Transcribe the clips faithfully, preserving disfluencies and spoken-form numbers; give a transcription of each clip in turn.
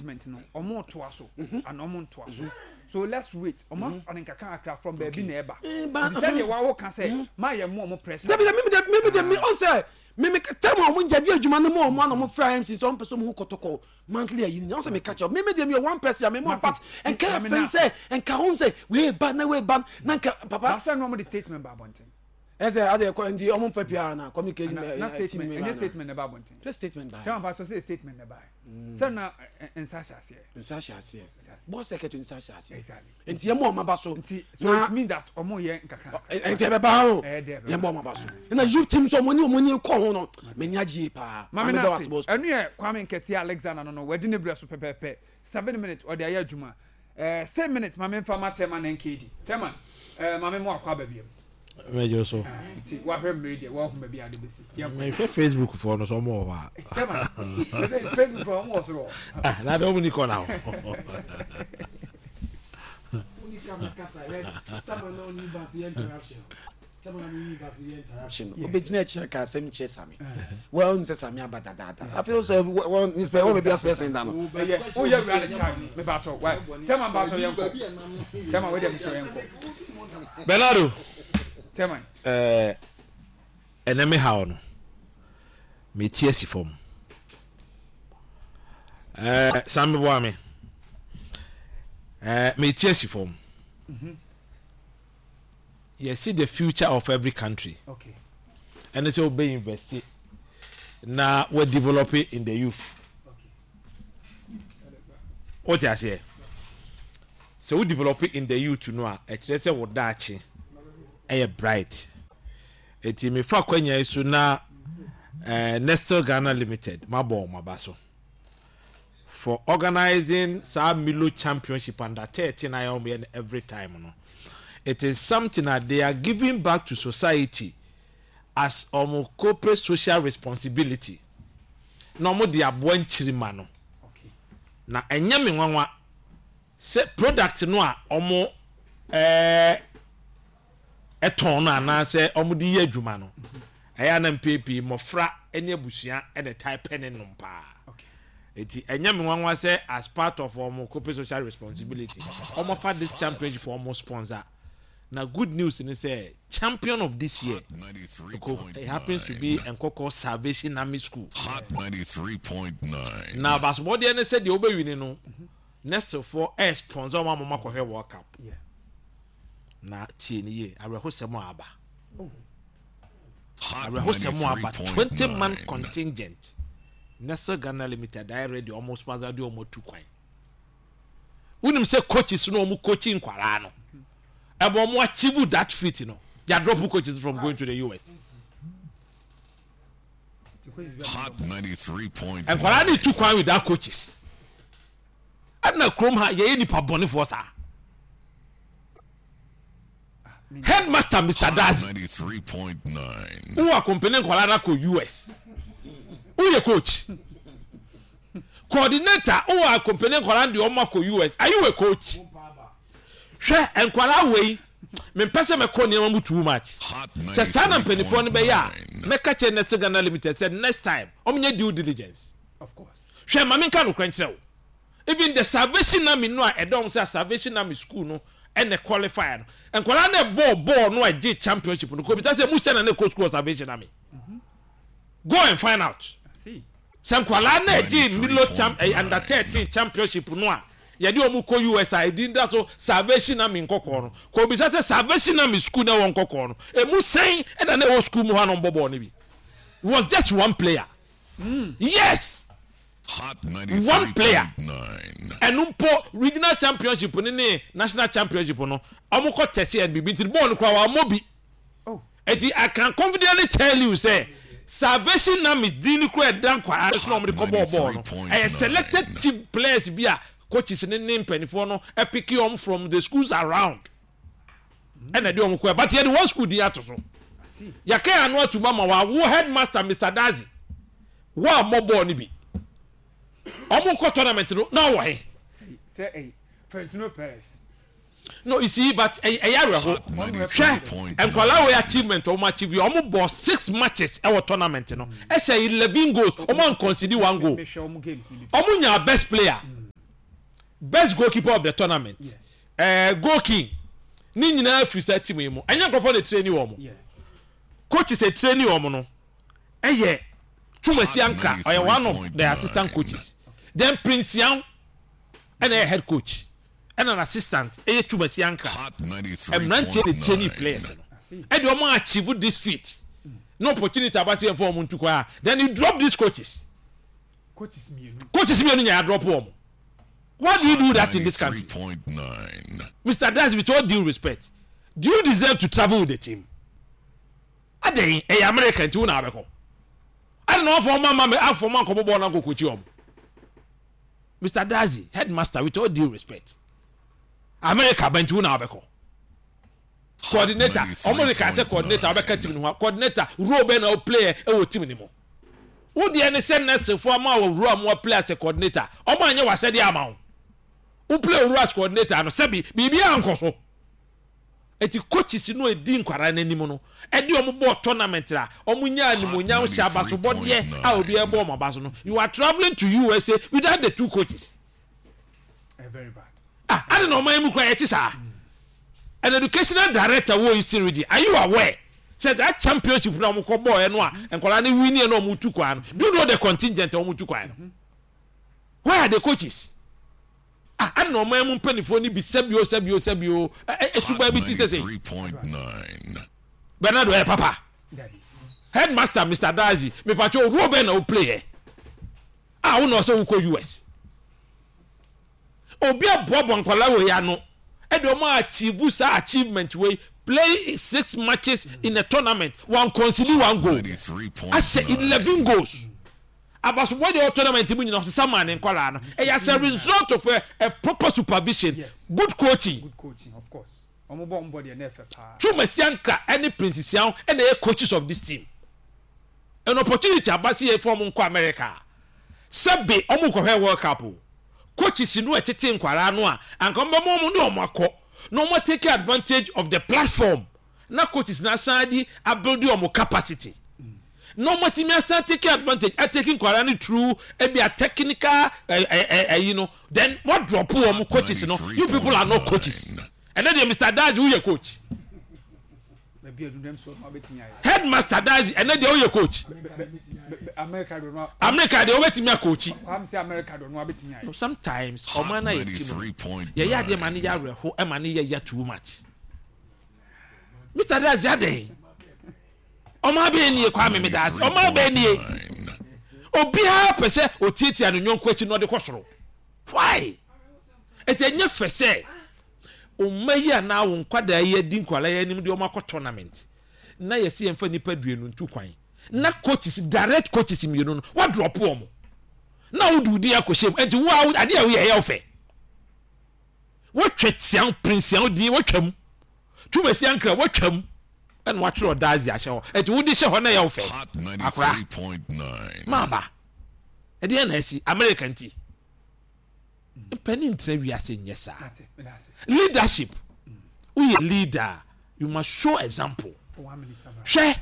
Arrangement no, ɔmo toa so ana ɔmo ntoa so? So let's wait. Ɔmo afa ne nkakra kakra from baabi na ɛba. Eh, ba- Nti sɛdeɛ wawo ka sɛ ma yɛ mo ɔmo pressure. Dabi, mi de mi de mi ɔn sɛ mi mi tɛm a ɔmo njɛdi adwuma no mu, ɔmo ana ɔmo fira M C sɛ ɔmo pɛ sɛ ɔmo hu Kɔtɔkɔ monthly ayi ni, ɔn sɛ mi ka kyerɛ mi mi de mi yɛ one person a mi mo. Mate. But nka yɛ Maame fɛn na- sɛ nka ho sɛ wei ba na wei ba na nka papa. Baasa na ɔmo de statement ba abɔnten. Ɛsɛ ade ɛkɔ nti ɔmo nfɛ P R na communication. na na statement, ɛnyɛ statement na ɛba abɔnten. Sɛ statement ba. Chairman Pastor sɛ statement na ɛba sɛ na ɛ- ɛ- nsa hyɛ aseɛ. Nsa hyɛ aseɛ, board secretary nsa hyɛ aseɛ. Exactly. Nti yɛ mo ɔmo aba so. Nti so it mean that ɔmo yɛ nkakra. Nti ɛbɛba ho. Ɛyɛ dɛ ɛbɛba. Yɛ mo ɔmo aba so ɛna youth team so ɔmo ni ɔmo ni kɔ ho no, mɛ ni agye yie paa. Maame da na wa ase ase, boss. Ɛnu yɛ Kwame Nkɛtɛ Alexander no no wadi ne brɛ so pɛpɛɛpɛ. Seven minutes ɔde ayɛ adwuma, ɛɛ six minutes. Maame nfa ma chairman N K D. Chairman, ɛɛ maame mu akɔ aba biam. Mɛgye so. Nti wahwɛ mmiri deɛ, wahu baabi a ade bɛsi. Yɛnkɔ. Mehwɛ Facebook foɔ no so, ɔmo wɔ hɔ a. Chairman, Facebook fɔ, ɔmo wɔ soro hɔ. Ah, na de ɔmo ni kɔ na hɔ. Obɛgyina akyirɛ ka asɛm kyerɛ Same wɔn sɛ Same aba dadaada, afei sɛ wɔn sɛ wɔn baabi asopɛ sɛn da no. Ɛyɛ woyɛ wura ne time me baatɔ wa. Chairman, baatɔ, yɛnkɔ. Chairman, wei deɛ mesɛ yɛnkɔ. Bernardo. Chairman. ɛɛ ɛnɛ me haw no, meti asi fam. ɛɛ same boa me, ɛɛ meti asi fam. Yɛsi the future of every country okay ɛne sɛ wobɛ invest na wɔ develop in the youth. Okay wote aseɛ? Sɛ wo develop in the youth no a, ɛkyerɛ sɛ wo daakye ɛyɛ bright. Eti mefa kwanya yi so na ɛɛ Nestle Ghana Limited, mabɔ wɔn aba so for organizing saa Milo Championship under thirteen a wɔn yɛ no every time no. It is something that they are giving back to society as wɔn corporate social responsibility na wɔn de aboa nkyirima no. Okay na ɛnyɛ me nwanwa sɛ product no a ɔmo ɛɛ ɛtɔn no anaasɛ ɔmo de yɛ adwuma no, ɛyɛ ana mpepii mmɔfra ne abusua ɛna ɛtae pɛ ne nom paa. Okay eti ɛnyɛ me nwanwa sɛ as part of ɔmo corporate social responsibility, ɔmo fa this championship ɔmo sponsor. Na good news ni sɛ champion of this year, it happens to be Nkɔkɔ Salvation Army School. Hot ninety-three point nine. Na abasobɔdeɛ ne sɛ deɛ wobɛwini no, Nestlefoɔ ɛ sponsor ɔmo ama ɔmo akɔhwɛ World Cup. Yeah. Na tie ne yie, awerɛhosɛm a aba, Hot awerɛhosɛm a aba, twenty man ninety-three point nine. contingent Nestle Ghana Limited ayɛ ready, ɔmo sponsor de ɔmo tu kwan. Wonim sɛ coaches no, ɔmo coaching nkwaraa no, ɛbɔ ɔmo achieve that feat no, they are dropping coaches from going to the U S. Hot ninety-three point nine. Nkwaraa ne tu kwan without coaches. Ɛna kurom ha yɛyɛ nipa bɔnefoɔ saa. Headmaster Mister Dazi, ninety-three point nine. wowɔ accompany nkwaraa no akɔ U S, woyɛ coach coordinator, wowɔ accompany nkwaraa no deɛ ɔmo akɔ U S, are you a coach? Hwɛ nkwaraa wei, mempɛ sɛ mɛkɔ nneɛma mu too much. Hot Sɛ saa na mpanimfoɔ no bɛyɛ a, ninety-three point nine. mɛka kyerɛ Nestle Ghana Limited sɛ next time ɔmonyɛ due diligence. Of course. Hwɛ, ma menka nokorɛ nkyerɛ wo, even the Salvation Army no a ɛdɔm sɛ Salvation Army School no ɛna qualify no, nkwaraa no ɛbɔɔ bɔɔl no a ɛgye championship no, kɔbisa sɛ mu sɛ na ne kɔ school wɔ Salvation Army. Go and find out. I see. Sɛ nkwaraa no ɛgye Milo champ eh, under thirteen championship no a yɛde wɔn kɔ U S a ɛdin da so Salvation Army Nkɔkɔɔ no, kɔbisa sɛ Salvation Army School na ɛwɔ Nkɔkɔɔ no, emu sɛn ɛna na ɛwɔ school mu hɔ a na wɔn bɔ bɔɔl no bi? It was just one player, yes. Hot One player. ninety-three point nine. Ɛno mpo, regional championship ne ne national championship no, ɔmo kɔ tɛsi ɛn bibi nti bɔɔl no kora wɔn bi. Oh. Eti I can confidently tell you sɛ Salvation Army din no kora ɛda nkwaraa no so na ɔmo de kɔ bɔɔl bɔɔl no, ɛyɛ selected team players bi a coaches ne ne mpanimfoɔ no ɛpick wɔn from the schools around ɛna ɛde wɔn kɔ, but yɛde one school din ato so. I see. Yɛka yɛn ano atum ama wawo headmaster Mister Dazi wo a mmɔ bɔɔl no bi, ɔmo kɔ tournament no na ɔwɔ he? Sɛ ɛyi Florentino Perez. No, you see, but ɛyɛ ɛyɛ awerɛho. Hwɛ nkwadaa wei achievement ɔmo achieve, ɔmo bɔ six matches ɛwɔ tournament no, ɛhyɛ eleven goals, ɔmo anconcede one goal. Mehwɛ ɔmo games ni bi. Ɔmo nya best player. Best goalkeeper of the tournament, uh, goal king ne nyinaa firi saa team yi mu. Ɛnyɛ nkurɔfoɔ na training wɔn. Yeah. Coaches a training wɔn no ɛyɛ Twumasi Ankra, ɔyɛ one of the assistant coaches. Then Prince Yan ɛna ɛyɛ head coach, ɛna an assistant ɛyɛ Twumasi Ankra. Hot Mmeranteɛ de training ninety-three point nine. Players no I see. ɛde wɔn achieve this feat no, opportunity aba se yɛn fɔ wɔn ntu kwan a, then you drop these coaches. Coaches mmienu. Coaches mmienu nyɛ drop wɔn. Why do you do that in this country? ninety-three point nine. Mister Dazi, with all due respect, do you deserve to travel with the team? Adan ɛyɛ America nti wo na abɛkɔ adi na wɔn afɔ ɔmo ama mi afɔ ɔmo ankɔbɔ bɔɔl na nkɔ kokyi wɔn. Mister Dazi, headmaster, with all due respect, America bɛ nti wo na abɛkɔ. Coordinator, ɔmo de ka sɛ coordinator ɔbɛka team no ho a, coordinator role bɛ na o play ɛwɔ team ne mu? Wo deɛ ne sɛ nursefoɔ ama wɔ role a mo play as a coordinator, ɔmo anyɛ w'asɛdeɛ ama wo. Wo play role as coordinator no, sɛbi, biribi ankɔ so. Eti coaches no edi nkwaraa n'anim no, ɛde ɔmo bɔɔ tournament a ɔmo nya animonyam hyɛ abasobɔdeɛ a obi ɛbɔ ɔmo aba so no, you are travelling to U S A without the two coaches. Eh, very bad. Ah, adi na ɔman mu kura yɛ ti saa. An educational director wɔ Eastern Region, are you aware sɛ that championship na ɔmo kɔ bɔɔl no a nkwaraa ne win na ɔmo tu kwan no, do you know the contingent a ɔmo tu kwan no? Where are the coaches? Ah, adi na ɔman mu mpanimfoɔ ni bi, sɛbio, sɛbio, sɛbio, ɛ ɛ esuba bi ti sɛ sɛ ninety-three point nine. Bernardo ɛ papa. Dabi. Headmaster Mister Dazi, mipatwa role bɛn na o play yɛ a wo na ɔsɛ wokɔ U S? Obi aboaboa nkwadaa wɔ yi ano ɛde ɔmo achieve saa achievement wei, play six matches in a tournament, one concede one goal, ahyɛ eleven goals. Abasobɔ deɛ, ɔwɔ tournament mu nyinaa ɔsesa maa ne nkwadaa no. Ɛyɛ as a result of a, a proper supervision. Yes. Good coaching. Good coaching, of course. Ɔmo bɔ ɔmo bɔ deɛ na ɛfɛ paa. Twumasi Ankra ɛne Prince Sian ɛna ɛyɛ coaches of this team. An opportunity aba si yɛ fɔ ɔmo nkɔ America, sɛbi, ɔmo kɔhwɛ World Cup o. Coaches no ɛtete nkwaraa no a anka ɔmo bɛma ɔmo ne ɔmo akɔ na ɔmo take advantage of the platform na coaches na asan de abuild ɔmo capacity na ɔmo atumi asan take advantage atake nkwaraa no through ebi a technical ɛ ɛ ɛ ɛyi no, then what drop ɔmo coaches no? You people are not coaches. Ɛnɛ deɛ, Mister Dazi, woyɛ coach? Baabi a dundam so ɔmo abɛtumi ayɛ. Headmaster Dazi, ɛnɛ deɛ woyɛ coach? Bɛ- bɛ- bɛ- America do no. America deɛ wobɛtumi akɔkyi. Kwame sɛ America do no abɛtumi ayɛ. Sometimes ɔman na yɛ ti mu yɛyɛ adeɛ ma ne yɛ awerɛho, ɛma ne yɛ yɛ too much. Mister Dazi, adɛn? Ɔman bɛyɛ nie, Kwame, mi daase, ɔman bɛyɛ nie, obiara pɛ sɛ otiatia ne nyɔnko akyi na ɔde kɔ soro. Why? Ɛtɛ nyɛ fɛ sɛ ɔma yi anaa wo nkwadaa yi adi nkwadaa yi anim de ɔmo akɔ tournament na yɛsi yɛn fa nipa duenu ntu kwan na coaches, direct coaches mmienu no, wadrop wɔn na wode wo din akɔhyɛ mu. Nti wo a adeɛ a woyɛ ɛyɛ wo fɛ, wotwa tian Prince Yan din, wotwa mu Twumasi Ankra, wotwa mu, ɛna watwerɛ Ɔdazi ahyɛ hɔ. Nti wode hyɛ hɔ na ɛyɛ wo fɛ. Hot Akora. ninety-three point nine. Maaba ɛdeɛ na asi America nti mpanin ntena wiase nyɛ saa. Ate, meda ase. Leadership, woyɛ leader, you must show example. For one minute, Samara. Hwɛ,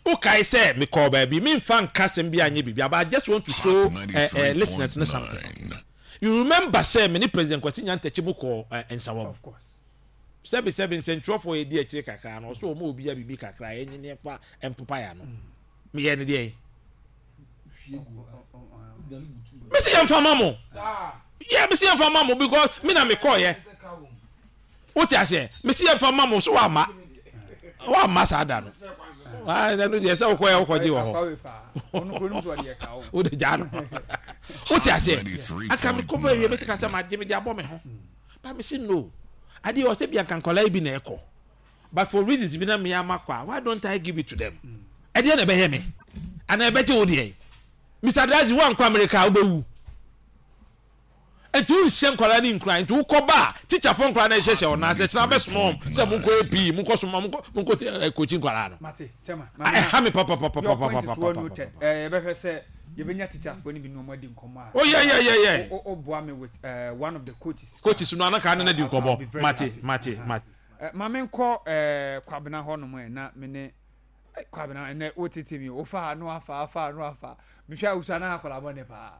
wokae sɛ mekɔɔ baabi, memfa nka sɛm bi anyɛ biribi, but I just want to show Hot uh, uh, listeners no something. ninety-three point nine. You remember sɛ me ne President Kwasi Nyantakyi mu kɔɔ uh, Nsawam. Of course. Sɛbi, sɛbi, nsɛntwerɛfoɔ yɛdi akyire kakra no, ɔso ɔma obia biribi kakra, yɛnye ne fa mpopa ya no, meyɛ ne deɛ mesi yɛmfa ma mo, yɛ mesi yɛmfa ma mo because me na mekɔɔyɛ. Wote aseɛ? Mesi yɛmfa ma mo so wamma, wamma saa da no. Ah, ɛno deɛ sɛ wokɔyɛ wokɔgye wɔ hɔ. Akwawe paa. Ɔno kuro no so ɔde yɛ ka o. Wode gyaa no, wote aseɛ? Anka mekɔbɔ awie mɛte ka sɛ magye mede abɔ me ho ba. Mese no adeɛ wɔ sɛ bia nka nkɔlaa yi bi na ɛkɔ, but for reasons bi na mea makɔ a, why don't I give it to them? Ɛdeɛ na ɛbɛyɛ me anaa ɛbɛgye wo deɛ? Mister Dazi, woankɔ America a wobɛwu, nti wonhyɛ nkwadaa ne nkura. Nti wokɔ ba a, teacherfoɔ nkwadaa no ɛhyehyɛ wɔn ase kyerɛ abɛsoma wɔn sɛ monkɔ ap, monkɔ soma, monkɔ monkɔ kokyi nkwadaa no. Mate, chairman. Ɛha me Your point is well papapapapapapapa. noted. Eh, yɛbɛhwɛ sɛ yɛbɛnya teacherfoɔ no bi na ɔmo adi nkɔmmɔ a. Oh, yeah, yeah, yeah, yeah. O o boa me with uh, one of the coaches. Coaches no anaka ne na di I'll- I'll be nkɔmmɔ. very Mate. happy. Mate. Uh-huh. Mate. Eh, ma menkɔ eh, Kwabena hɔ nom ɛ na me ne eh, Kwabena ɛnɛ wotete mi wofa ha no afa afa no afa mehwɛ a wosua na akɔla bɔne paa.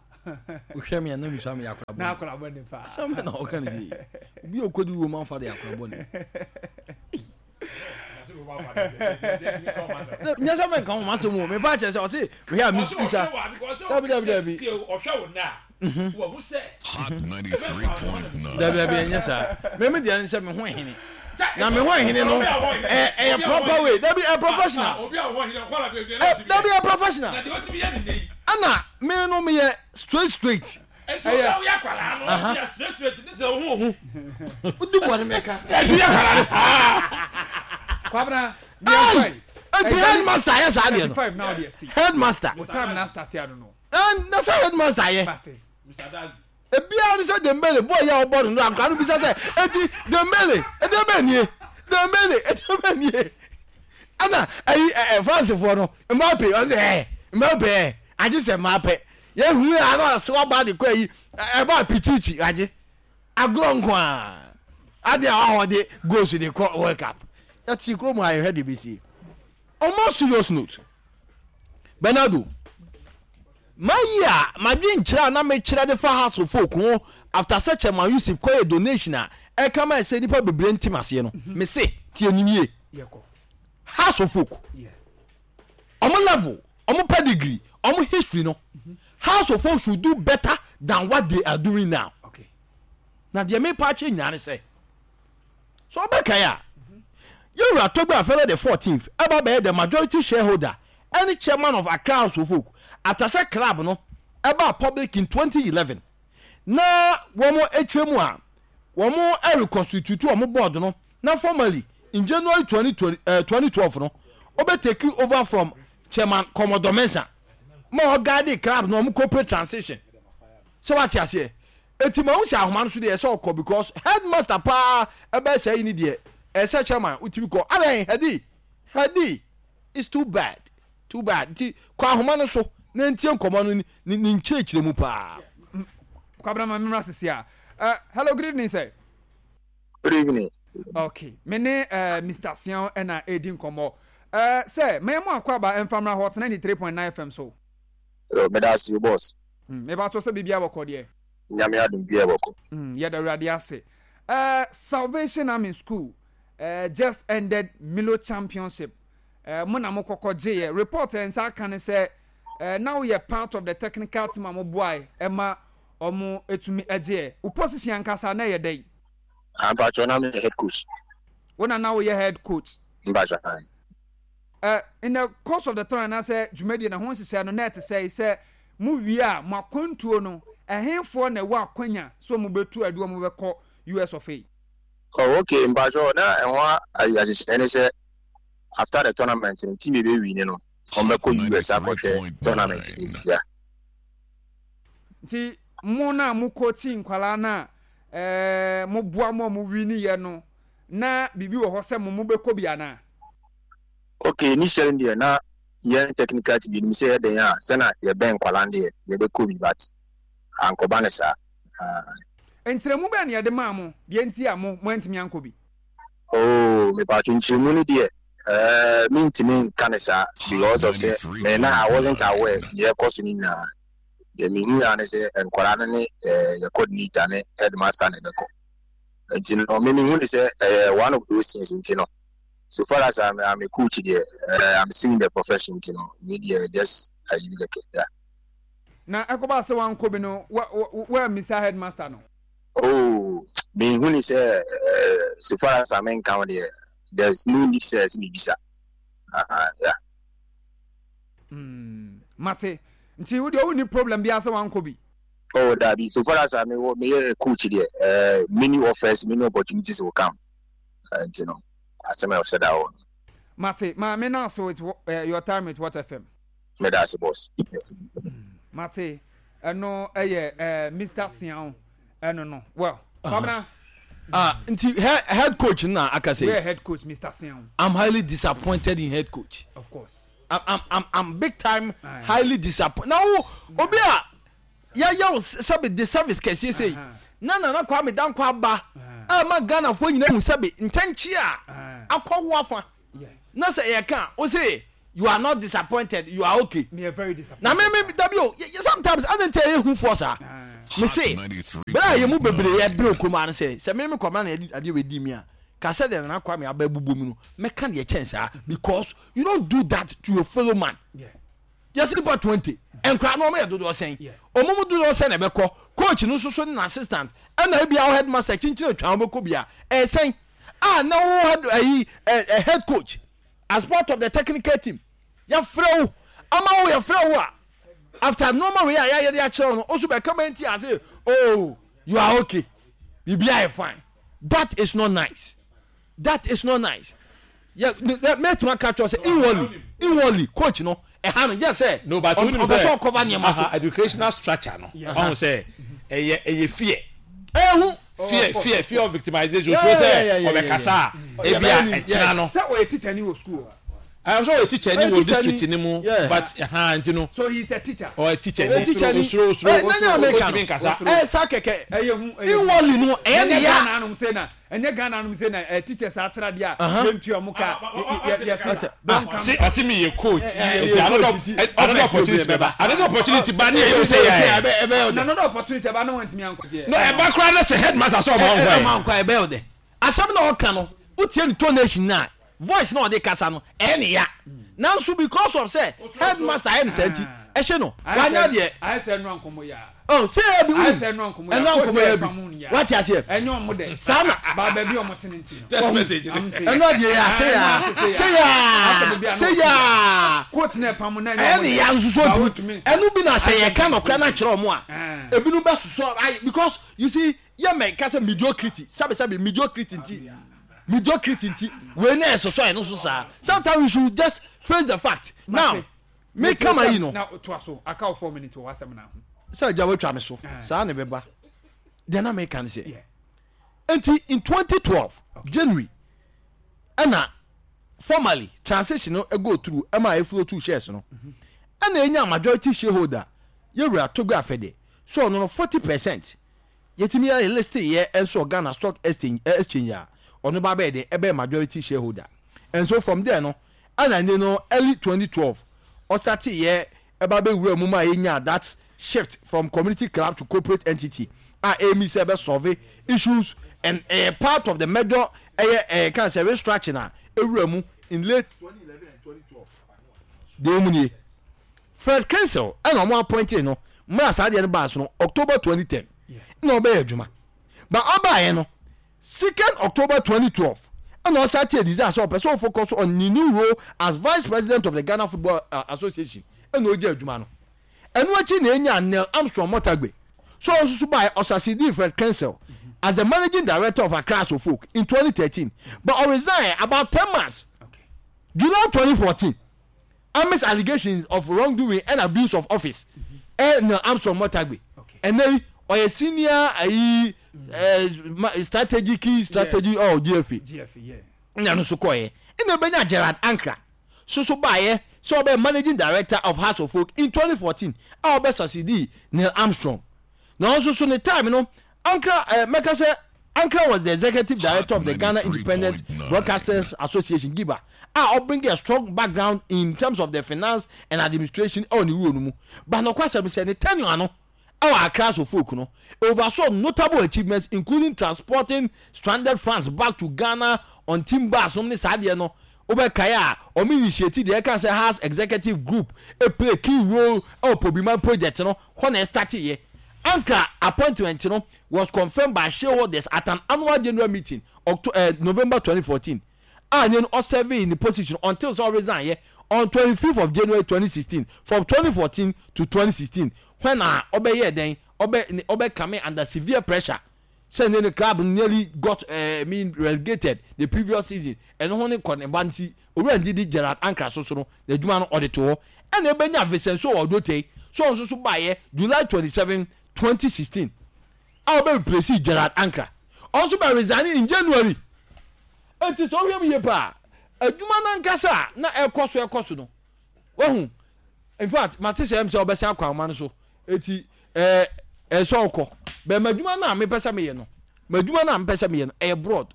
Wohwɛ me a na mesua meyɛ akora Na bɔne. akɔla bɔ ne paa. Asɛm bɛ na ɔka ne sɛ obi a ɔkɔdi Roman father yɛ akora bɔne. Nyɛ sɛ menka ho masɛm o, mepa kyerɛ sɛ ɔse mehwɛ a mesusa. Dabi, dabi, dabi. Ɔhwɛ wo na wɔhu sɛ Hot ninety-three point nine. Dabi, dabi, ɛnyɛ saa. Meme deɛ ne sɛ me ho hene na me ho hene no ɛ- ɛyɛ proper way. Dabi, ɛ professional. Obi a wɔwɔ hene ɔkɔla baabi. Ɛ, dabi, ɛ professional. Na deɛ ɔtumi yɛ ne nne yi. Ɛna me no meyɛ straight straight. Nti obi a woyɛ akwadaa no, ɔyɛ straight straight ne sɛ ɔho ɔho. Wodi bɔne mɛka. Ɛdi yɛ akwadaa no saa. Kwabena. Ai! Enti headmaster ayɛ saa deɛ no. Five now deɛ si. Headmaster. Mo time na start ya no no. Ɛn na sɛ headmaster ayɛ. Mate. Mister Dazi. Ebiara ne sɛ Dembele boy yɛ a ɔbɔ no no, akora no bisa sɛ, eti Dembele ɛdɛ bɛ nie, Dembele ɛdɛ bɛ nie? Ɛna ɛyi ɛ ɛ Francefoɔ no, Mbappe, ɔsɛ ɛ Mbappe ɛ agye sɛ Mbappe yɛhu yɛ ano ase waba de kɔ ayi ɛba pichichi agye agorɔ nko a ade a wahɔ de goals de kɔ World Cup. Yɛte kurom a yɛhwɛ de bɛsie. On more serious note, Bernardo, mayi a madwe nkyerɛ a na mekyerɛ de fa Hearts of Oak ho after sɛ Chairman Yusuf kɔyɛ donation a ɛka ma ɛsɛ nipa bebree ntim aseɛ no, mese tie nim yie. Yɛkɔ. Hearts of Oak, Yeah. ɔmo level, ɔmo pedigree, ɔmo history no, Hearts of Oak should do better than what they are doing now. Okay. Na deɛ mepa akyɛ nyinaa ne sɛ sɛ ɔbɛkae a, yɛwura Togbe Afɛlɛ the fourteenth ɛba bɛyɛ the majority shareholder ɛne chairman of Accra Hearts of Oak after sɛ club no ɛba public in twenty eleven, na wɔn akyerɛ mu a wɔn reconstitute wɔn board no, na formally in January twenty twenty uh, twenty twelve no, ɔbɛ take over from Chairman Commodore Mensah ma ɔguide club no, wɔn corporate transition. Sɛ wate aseɛ, eti ma n sɛ ahoma no so deɛ ɛsɛ ɔkɔ because headmaster paa ɛbɛyɛ sɛ ɛyi ni deɛ ɛsɛ chairman wotumi kɔ adan hɛdi hɛdi. It's too bad, too bad. Nti kɔ ahoma no so na ntie nkɔmɔ no ne ne nkyerɛkyerɛ mu paa. Kwabena, ma memra sisi a. Uh, hello, good evening, sir. Good evening. Okay, me ne uh, Mister Sian ɛna edi nkɔmɔ. Uh, sɛ mɛyɛ mo akɔ aba mfamra Hot ninety-three point nine F M so. Yo, meda ase, boss. Mm, meba to sɛ biribi abɔkɔ deɛ. Nyame adom bi ɛbɔkɔ. Mm, yɛda Awurade ase. Uh, Salvation Army School uh, just ended Milo Championship. Uh, mo na mo kɔkɔ gyeeɛ. Report ɛ nsa aka ne sɛ uh, now yɛ part of the technical team a mo boae ɛma ɔmo etumi ɛgyeeɛ. Wo position ankasa na ɛyɛ dɛn? Ampatwɔ, na meyɛ head coach. Wo na na woyɛ head coach? Mpatwɔ. Ae. Uh, in the course of the time anaasɛ dwumadie na ho nhyehyɛ no na ɛte sɛ sɛ mo wie a, mo akwantuo no, ɛhenfoɔ na ɛwɔ akwanya so mo bɛtu adu ɔmo bɛkɔ U S of A? Oh, okay, mpatwɔ, na ɛho ayi ahyehyɛ ne sɛ after the tournament no, team ebe win no, ɔmbɛkɔ U S akɔhwɛ tournament no. Yeah. Nti mo na mo coach nkwalaa na ɛɛ mo boa mo a mo wi ni yɛ no, na biribi wɔ hɔ sɛ mo mo bɛkɔ bi anaa? Okay, initially deɛ, na yɛn technical team yɛnim sɛ yɛdɛn a sɛna yɛbɛn nkwalaa no deɛ yɛbɛkɔ bi, but ankɔba ne saa. Ah. Nkyerɛmu bɛn na yɛde maa mo deɛ nti a mo mo antumi ankɔ bi? Oh, mepatwɔ, nkyerɛmu no deɛ, uh, mentumi nka ne saa because of sɛ me na I wasn't aware deɛ ɛkɔ so no nyinaa. Deɛ mehu ya ne sɛ nkwadaa no ne eh, yɛ coordinator ne headmaster na ɛbɛkɔ, nti no me mehu ne sɛ ɛyɛ one of those things. Nti no so far as I'm, I'm a coach deɛ, uh, I'm still in the profession, nti no me deɛ just ayi bi kɛkɛ, yeah. Na ɛkɔba sɛ wankɔ bi no, wa wa wa headmaster no? Oh, mehu ne sɛ uh, so far as I'm in count deɛ, there's no need sɛ ɛsɛ mebisa. uh, yeah. mm, mate. Nti wo deɛ, wonni problem biara sɛ wankɔ bi? Oh, dabi, so far as I'm meyɛ coach deɛ, uh, many offers, many opportunities will come, uh, nti no asɛm a ɛhyɛ da hɔ no. Mate, maame na ase with uh, your time with What F M. Meda ase, boss. Mate, ɛno ɛyɛ uh, Mister Sian ɛno no. Well, Kwabena. Ah, nti head, head coach na aka we sɛ head coach Mister Sian. I'm highly disappointed in head coach. Of course. I'm I'm I'm, I'm big time. Aye. Highly disappointed. Na wo obi a yɛyɛ wo sɛbi de service kɛseɛ sɛ Aha. na Nana Kwame Dankwa aba a ma Ghanafoɔ nyinaa hu sɛbi ntɛnkye a Aye. akɔwo afa Yeah. na sɛ yɛka o se You are not disappointed, you are okay. Me are very disappointed. Na me me dabi o, sometimes adi nti ɛyɛ hu fɔ saa. Me se bere a yɛ mu bebree yɛ bere okurom ano sɛ sɛ me me kɔma na yɛde adeɛ wɔ edi mi a kasɛ deɛ Nana Kwame aba ebubo mu no mɛka deɛ kyɛn saa, because you don't do that to your fellow man. Yɛsi nipa twenty nkura na wɔn yɛ dodoɔ sɛn, wɔn mu dodoɔ sɛn na ɛbɛkɔ coach no soso ne assistant, ɛna ebi awo headmaster kyinkyin atwa wɔn bɛkɔ bia ɛyɛ sɛn a na wo head ɛyi ɛ head coach as part of the technical team yɛfrɛ wo ama wo yɛfrɛ wo a after normal way a yɛayɛ de akyerɛ wo no osu bɛka bɛ nti ase, "Oh, you are okay, biribi ayɛ fine." That is not nice, that is not nice. Yɛ mɛtuma aka kyerɛ sɛ inwardly inwardly coach no ɛha no gye sɛ No, but ɔpɛ sɛ ɔkɔba nneɛma so. Educational structure no, ɔhun sɛ ɛyɛ ɛyɛ fear. Ɛhu. fear fear fear of victimization, osuro sɛ ɔbɛkasa a ebi a ɛkyina no. Sɛ ɔyɛ teacher ni wɔ school. Ɛyɛ sɛ ɔyɛ teacher ni wɔ district ni mu, but ɛhan nti no. So he is a teacher. Ɔyɛ teacher ni, osuro osuro otumi nkasa. Ɛyɛ sa kɛkɛ. Ɛyɛ hu. Inwardly no ɛyɛ ne ya. Ɛnyɛ Ghana anum se na ɛnyɛ Ghana anum se na ɛ teachers akyerɛ deɛ a yɛntua ɔmo ka yɛ yɛ se. Ɔsi mi yɛ coach nti another another opportunity bɛ ba, another opportunity ba ne yɛ yɛ o sɛ yɛ yɛ. Na another opportunity ɛba ne wɔn ntumi ankɔgye. No, ɛba koraa ne sɛ headmaster sɛ ɔma nkɔ yɛ. Ɔma nkɔ yɛ bɛyɛ o dɛ asɛm na ɔka no, wotie ne tonation na voice na ɔde kasa no, ɛyɛ ne ya, nanso because of sɛ headmaster ayɛ ne saa nti ɛhyɛ no wanya deɛ. Ayɛ sɛ ɛnu ankɔmɔ ya. Ɔ sɛ yɛ bi ayɛ sɛ ɛnu ankɔmɔ ya. Ɛnu ankɔmɔ yɛ bi, wate aseɛ. Ɛnyɛ ɔmo dɛ. Saa na. Ba baabi ɔmo te ne ti no. Text message. Ɛnu adeɛ yɛ sɛ ya sɛ ya sɛ ya. Coach na ɛpam na ɛnyɛ. Ɛyɛ ne ya nso so ntumi ɛnu bi na sɛ yɛ ka nɔkora na kyerɛ ɔmo a ebinom bɛ soso ayi, because you see, yɛ mɛ kasa mediocrity, sabi sabi mediocrity nti mediocrity nti wei na ɛsoso ɛno so saa. Sometimes we should just face the fact. Now me kama yi no. Na to aso aka o four minutes wɔ asɛm na ho. Sɛ agya watwa me so saa ne bɛba deɛ na meka ne sɛ nti in twenty twelve January ɛna formally transition no go through, ɛma eflow two shares no, ɛna enya majority shareholder yɛwura Togo Afɛde so ɔno no forty percent yɛtumi ayɛ list yɛ nso Ghana Stock Exchange exchange a ɔno ba bɛyɛ de ɛbɛyɛ majority shareholder. And so from there no, ɛna ne no early twenty twelve ɔstart yɛ ɛba bɛwura mu ma yɛnya that shift from community club to corporate entity a emi sɛ ɛbɛ solve issues and ɛyɛ part of the major ɛyɛ ɛyɛ kan sɛ restructuring a ewura mu in late twenty eleven and twenty twelve. Deɛ emu nie, Fred Kinsel ɛna ɔmo appointed no mmerɛ saa deɛ no baa so no October twenty ten ɛna ɔbɛyɛ adwuma, but ɔbaayɛ no second October twenty twelve ɛna ɔsan tie desire sɛ ɔpɛ sɛ ɔfocus on ne new role as vice president of the Ghana Football uh, Association, ɛna ɔgye adwuma no. Ɛno akyi na enya Neil Armstrong Motagbe so ɔno nso so baayɛ ɔsucceed Fred Kinsel as the managing director of Accra Hearts of Oak in twenty thirteen, but ɔresign about ten months, Okay. July twenty fourteen, amidst allegations of wrongdoing and abuse of office. Ɛ Neil Armstrong Motagbe Okay. ɛnɛ yi ɔyɛ senior ayi ɛ strategic strategy ɔ G F A. G F A, yeah. Ɛna no nso kɔɛ, ɛna ebɛnya Gerard Ankra soso baayɛ sɛ ɔbɛ managing director of Hearts of Oak in twenty fourteen a ɔbɛ succeed Neil Armstrong. Na ɔno nso so ne time no, Ankra ɛɛ mɛka sɛ Ankra was the executive director of the Ghana Independent ninety-three point nine. Broadcasters Association, GIBA, a ɔbring a strong background in terms of the finance and administration ɛwɔ ne wuro no mu. But nɔkwa sɛm sɛ ne tenure ano ɛwɔ Accra Hearts of Oak no, oversaw notable achievements, including transporting stranded fans back to Ghana on team bus nom ne saa deɛ no. Wobɛkae a ɔmo initiate deɛ ɛka sɛ Hearts executive group e play key role ɛwɔ Pobiman project no hɔ na ɛstart yɛ. Ankra appointment no was confirmed by shareholders at an annual general meeting October, uh, November twenty fourteen a ne no ɔserve in the position until sɛ ɔresign yɛ on twenty-fifth of January twenty sixteen. From twenty fourteen to twenty sixteen, when a ɔbɛyɛ dɛn, ɔbɛ ɔbɛ come under severe pressure sɛ ne ne club nearly got uh, I mean relegated the previous season, ɛno ho ne kɔ ne ba nti owura Ndidi Gerard Ankra so so no n'adwuma no ɔde to hɔ. Ɛna ebenya Vincent Sowah Odotei so ɔno nso so baayɛ July twenty seven twenty sixteen a ɔbɛ replace Gerard Ankra. Ɔno nso bɛ resign in January. Eti sɛ ɔhwɛ mu yie paa, adwuma nankasa a na ɛkɔ so ɛkɔ so no wahu. In fact, mate sɛ ɛm sɛ ɔbɛsan akɔ ahoma no so, eti ɛɛ ɛsɛ ɔkɔ bɛn. Adwuma no a mepɛ sɛ meyɛ no, adwuma no a mepɛ sɛ meyɛ no ɛyɛ broad.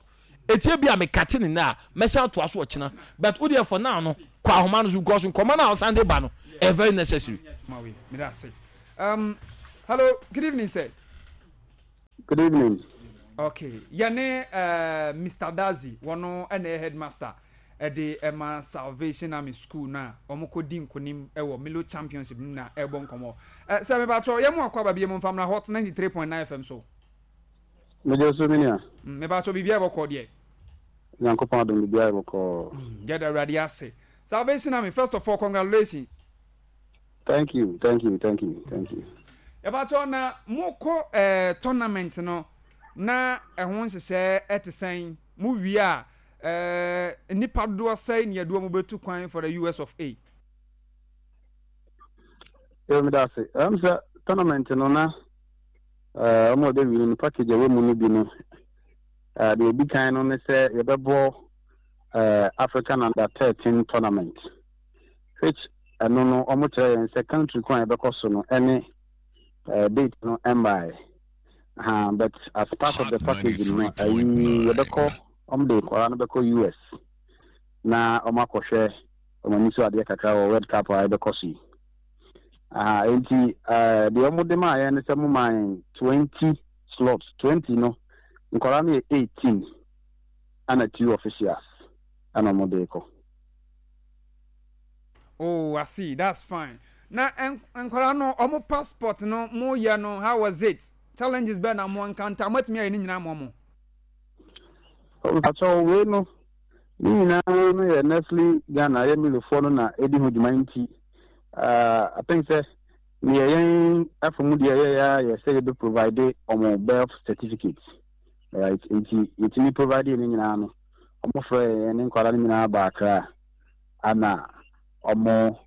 Etie bi a mekate ne na a mɛsan atoa so ɔkyena, but wo deɛ for now no, kɔ ahoma no so because nkɔmɔ no a ɔsan de ba no ɛyɛ very necessary. Um, hello, good evening, sir. Good evening. Okay, yɛne uh, Mister Dazi, wɔno ɛna ɛyɛ headmaster ɛde ɛma Salvation Army School na wɔn kɔ di nkonim ɛwɔ Milo Championship no na ɛbɔ nkɔmɔ. Ɛ sɛ mebatɔ yɛn mu akɔ aba bi mu nfamuna Hot ninety three point nine F M so. Mede so, me nua. Mebatɔ, biribi a ɛbɔkɔ deɛ? Nyankopɔn adom, biribiara yɛ bɔkɔɔ. Yɛda Awurade ase. Salvation Army, first of all, congratulations. Thank you, thank you, thank you, thank you. Yɛbatɔ na mokɔ ɛɛ tournament no na ɛho nhyehyɛ ɛte sɛn? Mo wie a, ɛɛ nipa dodoɔ sɛn ne yɛde wɔn bɛtu kwan for the U S of A? Yo, meda ase. Ɛm sɛ tournament no na ɛɛ ɔmo a ɔbɛwi no, package a ɛwɔ mu no bi no, ɛɛ deɛ ebi kan no ne sɛ yɛbɛbɔ ɛɛ African Under thirteen tournament, which ɛno no ɔmo kyerɛ yɛn sɛ country kwan a yɛbɛkɔ so no ɛne ɛɛ date no ɛmbaeɛ ha, but as part of the package no, ɛyi yɛbɛkɔ, ɔmo de nkɔla no bɛkɔ U S na ɔmo akɔhwɛ ɔmo ani so adeɛ kakra wɔ World Cup a yɛbɛkɔ so yi aha. Nti ɛɛ deɛ ɔmo de maa yɛn ne sɛ mo maa yɛn twenty slots. Twenty no, nkɔla no yɛ eighteen ɛna two officials ɛna ɔmo de kɔ. Oh, I see, that's fine. Na nkwadaa no, ɔmo passport no mo yɛ no, how was it? Challenges bɛɛ na mo encounter? Mo atumi ayɛ ne nyinaa mo mo? Mpakyɛw, wei no ne nyinaa no yɛ Nestle Ghana, yɛ Milofoɔ no na ɛdi ho dwuma. Nti uh, I think sɛ neɛ yɛn afa mu deɛ yɛyɛ a yɛ sɛ yɛbɛ provide ɔmo birth certificate, right? Nti yɛtumi provide ne nyinaa no, ɔmo frɛ yɛn ne nkwadaa no nyinaa ba Accra ana ɔmo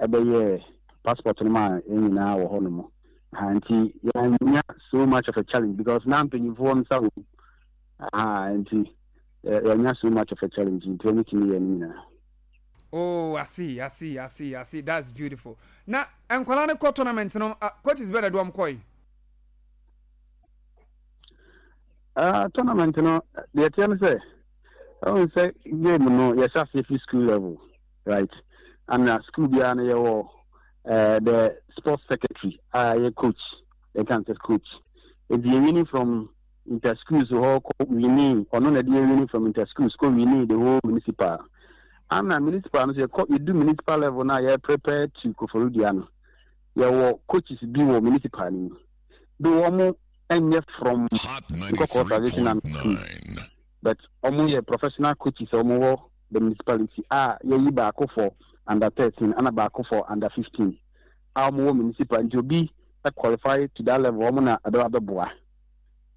ɛbɛyɛ passport no ma yɛn nyinaa wɔ hɔ nom ha. Nti yɛanya so much of a challenge because na mpanyinfoɔ nsa wɔ mu ha, nti yɛanya so much of a challenge, nti ɔmo tumi yɛ no nyinaa. Oh, I see, I see, I see, I see. That's beautiful. Na nkwadaa no kɔ tournament no, uh, coaches bɛɛ na de wɔn kɔ yi? Uh, tournament no deɛ, teɛ no sɛ ɛwɔ sɛ game no yɛhyɛ aseɛ fi school level, right? Ana school biara no yɛwɔ uh, the sports secretary a yɛ coach, yɛka sɛ coach. Nti yɛ winning from inter schools hɔ kɔ winning, ɔno na ɛde yɛ winning from inter schools kɔ winning the whole municipal. Ana municipal no so, yɛkɔ yɛdu municipal level na yɛ prepare to Koforidua no, yɛwɔ coaches bi wɔ municipal no mu de wɔn nyɛ from Nkɔkɔɔ Salvation Army School, but wɔn yɛ professional coaches a wɔn wɔ the municipality a yɛyi baako for under thirteen ana baako for under fifteen a wɔn wɔ municipal. Nti obi qualify to that level, wɔn na ɛbɛba bɛboa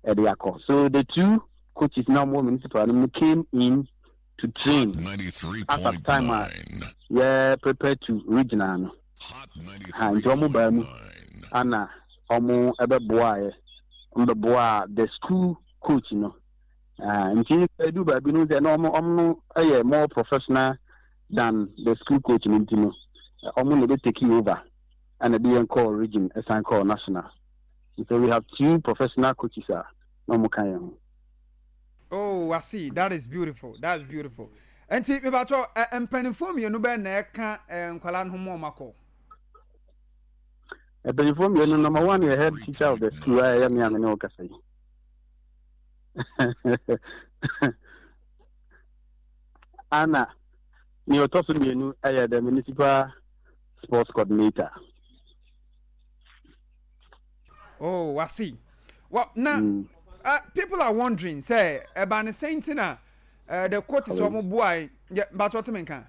ɛde akɔ. So the two coaches na wɔn wɔ municipal no came in to train as at time a yɛ prepare to regional no ha. Nti wɔn baa mu ana wɔn ɛbɛboa yɛ, wɔn bɛboa the school coach no. Nti edu baabi no sɛ na wɔn wɔn no yɛ more professional than the school coach no, nti no wɔn na ebe take over ɛna de yɛn kɔɔ region, ɛsan kɔɔ national. So we have two professional coaches a na wɔn ka yɛn ho. Oh, I see. That is beautiful. That is beautiful. Nti mebatɔ, mpanimfoɔ mmienu bɛɛ na ɛka nkwadaa no ho mu ɔmo akɔ? Mpanyinfoɔ mmienu, number one yɛ head teacher of the school a ɛyɛ me a me ne wo kasa yi, ana nea ɔtɔ so mmienu yɛ the municipal sports coordinator. Oh, I see. Well, now mm. uh, people are wondering, sɛ, ɛba ne sɛn ti na uh, the coaches wɔn boa yɛ? Batɔ te me nka?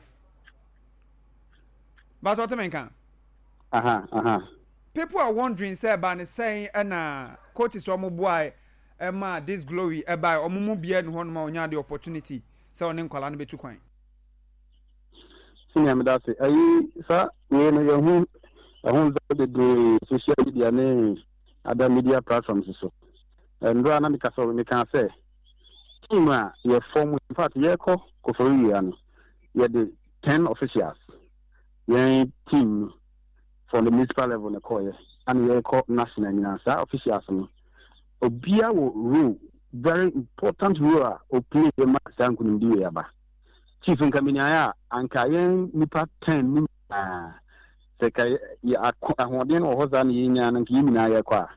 Batɔ te me nka? Aha, aha. People are wondering sɛ ɛba ne sɛn ɛna coaches wɔn boa ɛma this glory ɛba, wɔn mu bia ne hɔnom a wɔnya the opportunity sɛ ɔne nkwadaa no bɛtu kwan. Senior, meda ase. Ayi saa wei no, yɛho ɛho nsa bebree social media ne other media platforms so. Ndora na meka sɛ meka sɛ team a yɛ form, in fact yɛkɔ Koforidua no, yɛde ten officials, yɛn team no from the municipal level na kɔɔyɛ, ana yɛkɔ national nyinaa, saa officials no obiara wɔ role very important role a ɔplay yɛ ma saa nkonimdi wei aba. Chief, nka menyaeɛ a, anka yɛn nipa ten ne nyinaa, sɛ ka yɛ ahoɔden no wɔ hɔ saa na yɛnyaa no, nka yɛn nyinaa yɛkɔ a,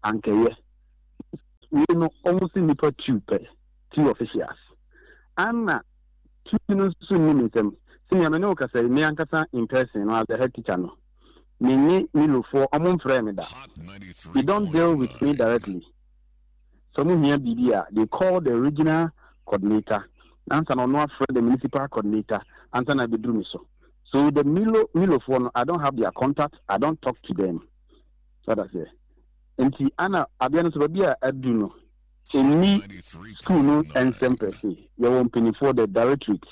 anka yɛ wei no, ɔmo si nipa two pɛ, two officials, ana two no nso nni me nsɛm. Sɛnea me ne wo kasa yi, me ankasa in person no, as the head teacher no, me ne Milofoɔ, ɔmo mfrɛ me da. They don't deal with me directly. So ɔmo hia biribi a, they call the regional coordinator ansa na ɔno afrɛ the municipal coordinator ansa na abɛduru me so. So the Milo Milofoɔ no, I don't have their contact, I don't talk to them. So that's it. Nti ana adeɛ no so, baabi a adu no, ɛnni school no nsɛm pɛ se yɛwɔ mpanimfoɔ, the directorate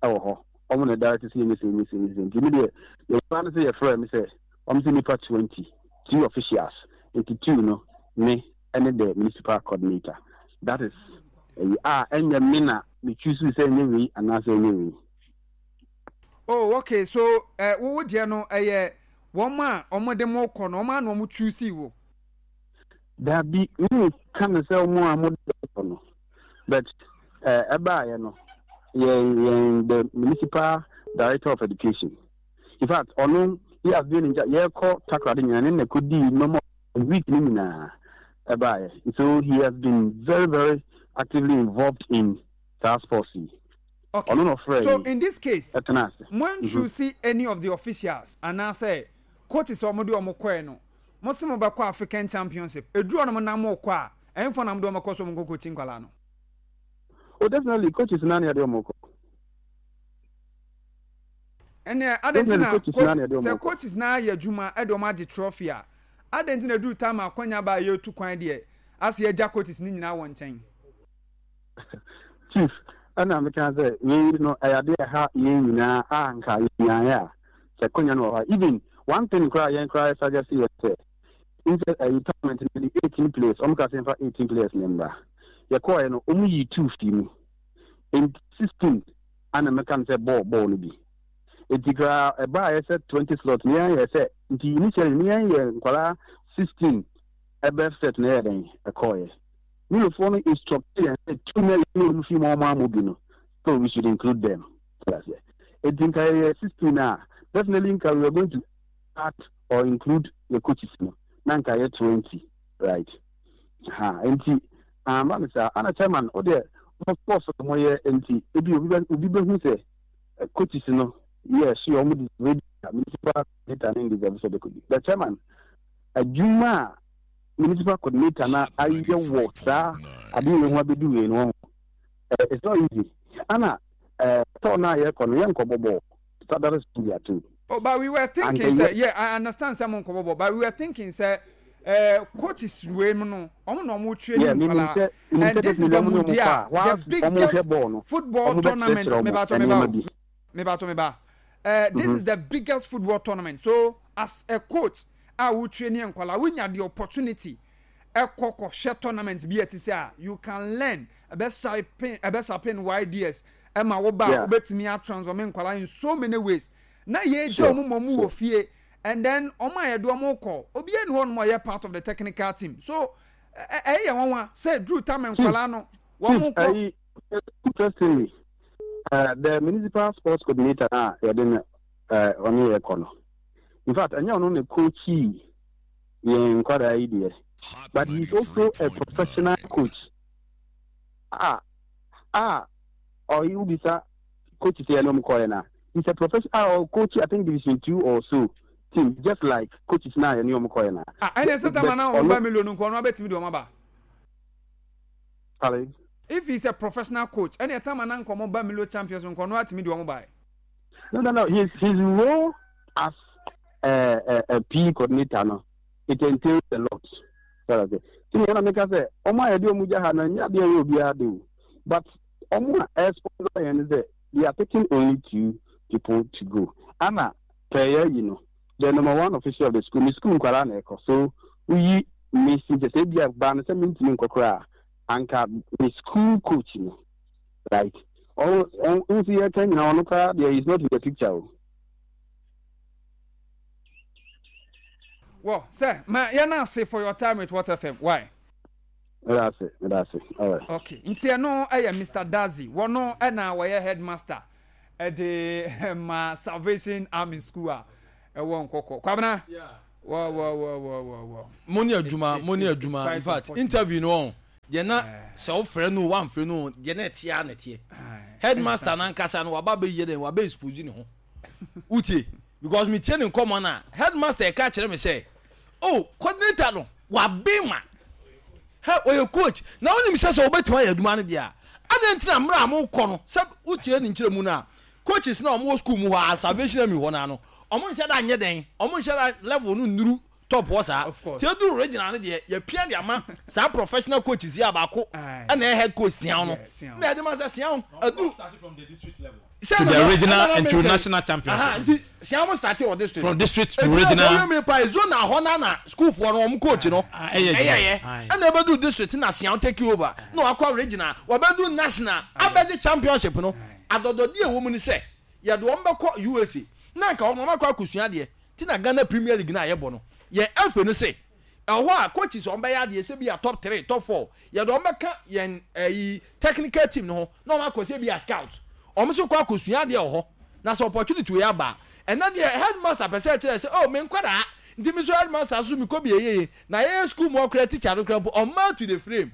ɛwɔ hɔ, ɔmo na director sɛ yɛnyɛ sɛ yɛnyɛ sɛ yɛnyɛ sɛ. Nti mi deɛ, yɛwɔ no sɛ yɛfrɛ mi sɛ ɔmo sɛ nipa twenty two officials, nti two no, me ɛne the municipal coordinator. That is ɛyi a ɛnyɛ me na me choose sɛ ɛnyɛ wei anaasɛ ɛnyɛ wei. Oh, okay, so ɛ wo deɛ no, ɛyɛ wɔn a wɔn de mo kɔ no, wɔn a na wɔn choose wo? Dabi, mi ka no sɛ ɔmo a mo de kɔ no, but ɛɛ ɛbaayɛ no, yɛn yɛn the municipal director of education, in fact, ɔno he has been in charge. Yɛkɔ Takoradi nyinaa ne na kɔdii nneɛma week ne nyinaa ɛbaayɛ, so he has been very very actively involved in saa sports yi. Okay. Ɔno na ɔfrɛ. So in this case, ɛtena ase. Mo choose any of the officials anaasɛ coaches a wɔn de wɔn kɔɛ no, mo sɛ mo bɛkɔ African Championship, eduru ɔnom nam mo kɔ a, ɛnfɔ nam de wɔn kɔ so wɔn kɔ coach nkwadaa no? Oh, definitely coaches naa na yɛde wɔn kɔ. Ɛnna adan ti na Definitely coaches coach naa na yɛde wɔn sɛ kɔ. Coaches naa yɛ adwuma ɛde wɔn agye trophy a, adan ti na eduru time akɔnya ba a yɛtu kwan deɛ, asɛ yɛgya coaches ne nyinaa wɔ nkyɛn? Chief, ɛna meka sɛ wei no, ɛyɛ adeɛ a ɛha yɛn nyinaa a nka yɛnyaeɛ a sɛ kɔnya no wɔ hɔ a, even one thing koraa yɛn koraa yɛsuggest yɛ sɛ nsɛ ɛyi tournament no de eighteen players, ɔmo ka sɛ mfa eighteen players ne mbra. Yɛkɔɔɛ no, ɔmo yi two fii mu, nti sixteen ana mɛka no sɛ bɔɔl bɔɔl no bi. Nti koraa ɛbaa yɛ sɛ twenty slot ne yɛn yɛ sɛ, nti initially ne yɛn yɛ nkwadaa sixteen ɛbɛ set na ɛyɛ dɛn ɛkɔɔyɛ. Milofoɔ no instruct yɛn sɛ two na yɛn ɔmo fi mu a ɔmo amɔ bi no, so we should include them. Eti nka yɛyɛ sixteen a, definitely nka we are going to add or include the coaches no, na nka yɛ twenty, right? Ha nti amba no saa. Ana chairman o deɛ, mo sports no mo yɛ, nti ebi obi bɛ obi bɛ hu sɛ eh, coaches no yɛ so yɛ ɔmo deserve bi, municipal coordinator ne deserve sɛ ɔbɛkɔ bi. The chairman, adwuma a municipal coordinator na ayɛ wɔ saa adeɛ wei ho abɛdu wei no ho, eh, it's not easy. Ana eh, tɔɔ no a yɛkɔ no, yɛnkɔ bɔbɔ. That is there too. Oh, but we were thinking, And say, the- yeah, I understand some nkɔbɔbɔ, but we were thinking, say, uh, coaches wei mu no, ɔmo na ɔmo training Yeah, meaning nkwadaa, sɛ meaning and sɛ this is the definitely ɔmo ne ɔmo mundial, kɔ a, the whilst ɔmo hwɛ biggest bɔɔl no, football ɔmo tournament. bɛkyerɛkyerɛ ɔmo Mebato nneɛma meba o, bi. mebato meba. Uh, this Mhm. is the biggest football tournament. So as a coach, a wo training nkwadaa, wonya the opportunity ɛkɔ kɔhwɛ tournament bi a ɛte sɛ a, you can learn, ɛbɛ sharpen ɛbɛ sharpen wo ideas ɛma wo ba a Yeah. wobɛtumi atransform nkwadaa in so many ways. Na yɛgya Sure, ɔmo ma ɔmo wɔ fie, and then ɔmo a yɛde ɔmo kɔ, obiara ni hɔ nom a ɔyɛ part of the technical team, so ɛ ɛ ɛyɛ nwanwa sɛ duru time nkwadaa no wɔn Chief, kɔ. ɛyi, interestingly, uh, the municipal sports coordinator na yɛde no, uh, ɔne yɛ kɔ no, in fact, ɛnyɛ ɔno na coachi yɛn nkwadaa yi deɛ, but he is also a professional coach a a ɔyi wobisa coach sɛ yɛne ɔmo kɔɛ na he's a professional a ɔcoach, I think, division two or so team, just like coaches na yɛne ɔmo kɔɛ na. Ah, ɛnna ɛsɛ tama na ɔmo ba million nkɔ ɔno abɛtumi de ɔmo aba. Sorry? If he is a professional coach, ɛnna ɛtama na nkɔmɔ ba Milo Champions nkɔ ɔno atumi de ɔmo ba. No, no, no. His his role as a, a, a P E coordinator, no, it entails a lot. Sorry, okay. See, me na say, omo a yɛde ɔmo gya ha no, nyɛ adeɛ yɛ obiara de o. But ɔmo a sponsor yɛn sɛ they are taking only two people to go. Ana pɛyɛ yi no, the number one official of the school, ne school nkwadaa na ɛkɔ. So woyi me si kyɛ sɛ ebi a baa no sɛ mentumi nkɔ koraa, anka me school coach no, right? Ɔno ɔno nso yɛ ka nyinaa, ɔno koraa deɛ is not in the picture o. Well, sir, ma yɛn ase for your time with What F M. Why? Meda ase, meda ase. Alright. Okay, nti ɛno ɛyɛ Mister Dazi, wɔno ɛna wɔyɛ headmaster ɛde ma Salvation Army School a ɛwɔ Nkɔkɔ. Kwabena, wɔ wɔ wɔ wɔ wɔ wɔ. Mo ne adwuma, It's- mo ne it's- it's adwuma. quite In fact, unfortunate. interview no ɔn deɛ na sɛ wofrɛ no o, woamfrɛ no o, deɛ na ɛteɛ a na ɛteɛ. Aye. Headmaster nankasa no waba bɛyɛ dɛn, waba expose ne ho. Wotie, because metie ne nkɔmmɔ no a, headmaster ɛka kyerɛ me sɛ, oh, coordinator no wabe ma hɛ ɔyɛ coach na wonim sɛ sɛ wobɛtumi ayɛ adwuma no deɛ a, adɛn nti na mmerɛ a mokɔ no sɛ wotie ne nkyerɛ mu no a, coaches na ɔmowɔ school mu hɔ a, Salvation Army hɔ no ano, ɔmo nhyɛ da nyɛ dɛn, ɔmo nhyɛ da level no nnuru top hɔ saa. Of course. Nti ɛduru regional no deɛ, yɛpia de ama saa professional coaches yi a baako Aye. ɛna ɛyɛ head coach Sian no Yeah, Sian. na yɛde ma sɛ Sian aduru sɛ To na- the na- regional na- na- and to na- national championship. Aha, nti Sian mo start wɔ district From district to Eti na regional. sɛ woyɛ mi pa zone ahɔ na na school foɔ no, wɔn coach no Ah, ɛyɛ adwuma. ɛyɛ Aye. ɛna ɛbɛdu district na Sian take over na wakɔ regional, wɔbɛdu national abɛgye championship no. Adɔdɔdeɛ ɛwɔ mu ni sɛ yɛde wɔn bɛkɔ U S A na nka wɔn wɔn akɔ akɔsua adeɛ ti na Ghana Premier League na yɛbɔ no yɛn ɛfɛ no sɛ ɛhɔ a coaches wɔn bɛyɛ adeɛ sɛ bi a top three, top four, yɛde wɔn bɛka yɛn ɛyi technical team no ho na wɔn akɔ sɛ bi a scout, wɔn nso kɔ akɔsua adeɛ wɔ hɔ. Na sɛ opportunity wei aba, ɛnna deɛ headmaster pɛ sɛ ɛkyerɛ sɛ, oh, me nkwadaa nti mi so headmaster so mi kɔ bi eyeye na yɛyɛ school mu ɔkora teacher no kora mpo ɔmaa to the frame.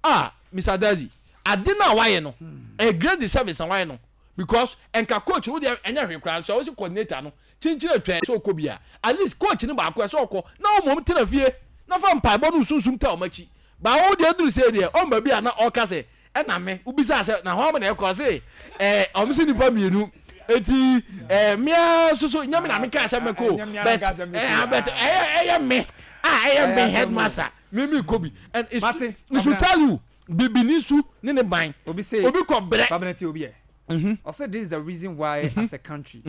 Ah, Mister Dazi, ade na wayɛ no a great disservice na wayɛ no, because nka coach wo deɛ ɛnyɛ hwee koraa nso a wosi coordinator no kyinkyin atwa sɛ ɔkɔ bi a, at least coach no baako ɛsɛ ɔkɔ na wɔn tena fie na fa mpaebɔ no sunsun ta wɔn akyi. Baawo deɛ duru sɛ deɛ ɔn baabi a na ɔka sɛ ɛna me wobisa sɛ na hɔn na ɛkɔ se ɛɛ ɔmo si nipa mmienu eti ɛɛ mmea soso nyɛ mi na mi ka sɛ mɛkɔ o, Ɛnyɛ mmea na but ka sɛ mɛkɔ. ɛɛ but ɛyɛ ɛyɛ me a ɛyɛ me Ɛyɛ asɛm o. headmaster mi mi kɔ bi and it Mate, should it should Kwabena. tell you bibini su ne ne ban. Obi say Obi kɔ brɛ. Kwabena, tie obi yɛ. Ɔsɛ this is the reason why as a country,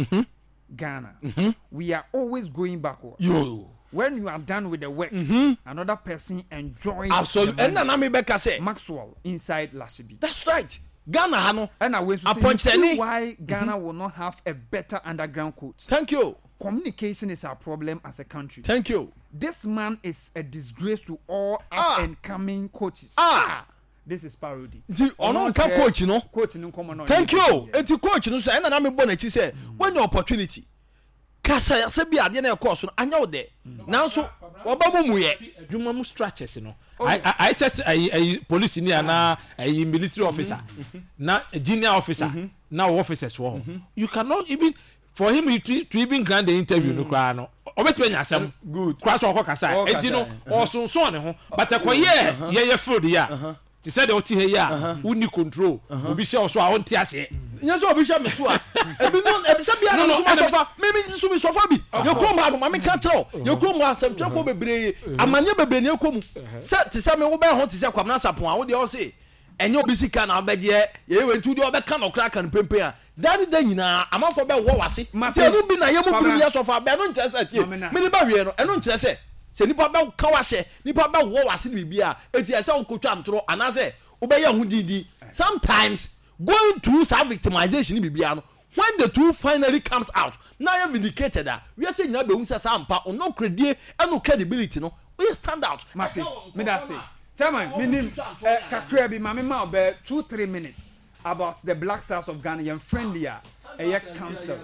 Ghana, we are always going backwards. Yo. When you are done with the work, another person enjoys Absolutely. the money. Ɛnna na mi bɛ ka sɛ Maxwell inside Lashibi. That's right, Ghana ha no ɛna wei nso sɛ, you see apɔnkyerɛni why Ghana will not have a better underground coach. Thank you. Communication is our problem as a country. Thank you. This man is a disgrace to all up Ah. and coming coaches. Ah. This is parody. Nti ɔno nka coach no. Coach no nkɔmɔ no. Thank you. Eti coach no so ɛnna na mi bɔ n'akyi sɛ when your opportunity kasa sɛ bi adeɛ na ɛkɔɔ so no anya wo dɛ, nanso wɔba mu mu yɛ. Adwuma mu structures no Oh, yes. ayɛ sɛ ayi ayi police ni anaa ayi military officer na junior officer na wɔ officers wɔ hɔ. You cannot even for him to, to even grant the interview no koraa no, ɔbɛtumi anya asɛm Good. koraa sɛ ɔkɔ kasa. Ɔkɔ Eti no kasa. ɔsonson ne ho, but ɛkɔyɛ yɛyɛ field yi a te sɛ deɛ ɔte ha yi a wonni control, obi hyɛ wo so a ɔnte aseɛ. Nyɛ sɛ obi hwɛ me so a, ebi no ebi sɛ bia No, na no, nso ma ɛna- sɔfa mímí nso mi sɔfa bi yɛ kurom ha no, maame ka kyerɛ o, yɛ kurom ha asɛmtwerɛfoɔ bebree, amaneɛ bebree na ekɔ mu sɛ te sɛ mi wo bɛn ho te sɛ Kwamina Sapon a wo deɛ ɔse ɛnyɛ obi sika na ɔbɛgyeɛ yɛyɛ wɔ nti deɛ ɔbɛka na ɔkora ka no pempen a dani da nyinaa amanfoɔ bɛ wɔ wase Mate. nti ɛno bi na yɛ mu Kwabena. biri yɛ sɔfa bɛ ɛno nkyerɛ sɛ tie Mame na. mene ba wie no, ɛno nkyerɛ sɛ sɛ nipa bɛ ka wahyɛ nipa bɛ wɔ wase ne biribi a eti ɛsɛ wokotwa ntorɔ anaasɛ wobɛyɛ ho dindin. Sometimes going through saa victimization ne biribi no, when the truth finally comes out na yɛ vindicated a, wiase nyinaa bɛhu sɛ saa mpa ɔno credie ɛno credibility no oyɛ stand out. Mate, meda ase. Chairman, minim eh, kakra bi maame ma ɔbɛ two three minutes about the Black Stars of Ghana yɛn friendly a ɛyɛ cancelled.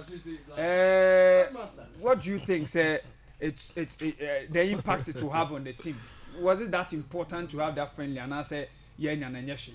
Eh, what do you think say it's it's it, uh, the impact it will have on the team? Was it that important to have that friendly anaasɛ yɛn nya na nyɛ hwee?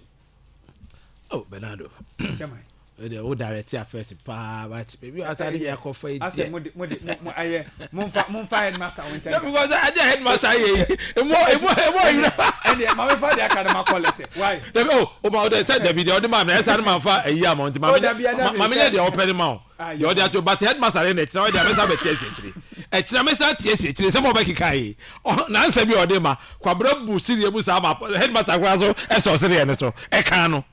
Oh, Bernardo. Chairman. Ɛdeɛ wo direct affairs paa, but baabi a asa de yɛ akɔfa yi asɛ deɛ mo de mo de mo mo ayɛ momfa momfa headmaster wo nkyɛn. No, because ade a headmaster yɛ yi emu emu emu ayira. Ɛndeɛ maame fa deɛ aka no ma kɔ lɛsɛ why. Dabi o o ma o de sɛ dabi deɛ ɔde maa mi ɛsɛ ade maa fa ɛyi ama nti Oh, maame dabi, dabi, maame sɛ- nyɛ deɛ ɔpɛ ne ma o Ah, deɛ ɔde ato, but headmaster de na ɛkyerɛ ɔde amesa bɛ tie esi akyire ɛkyerɛ amesa tie esi akyire sɛ mo bɛ keka yi ɔ nansa bi a ɔde ma Kwabra bu siriɛ mu saa ma headmaster koraa so ɛsɛ ɔsiriɛ ne so ɛka no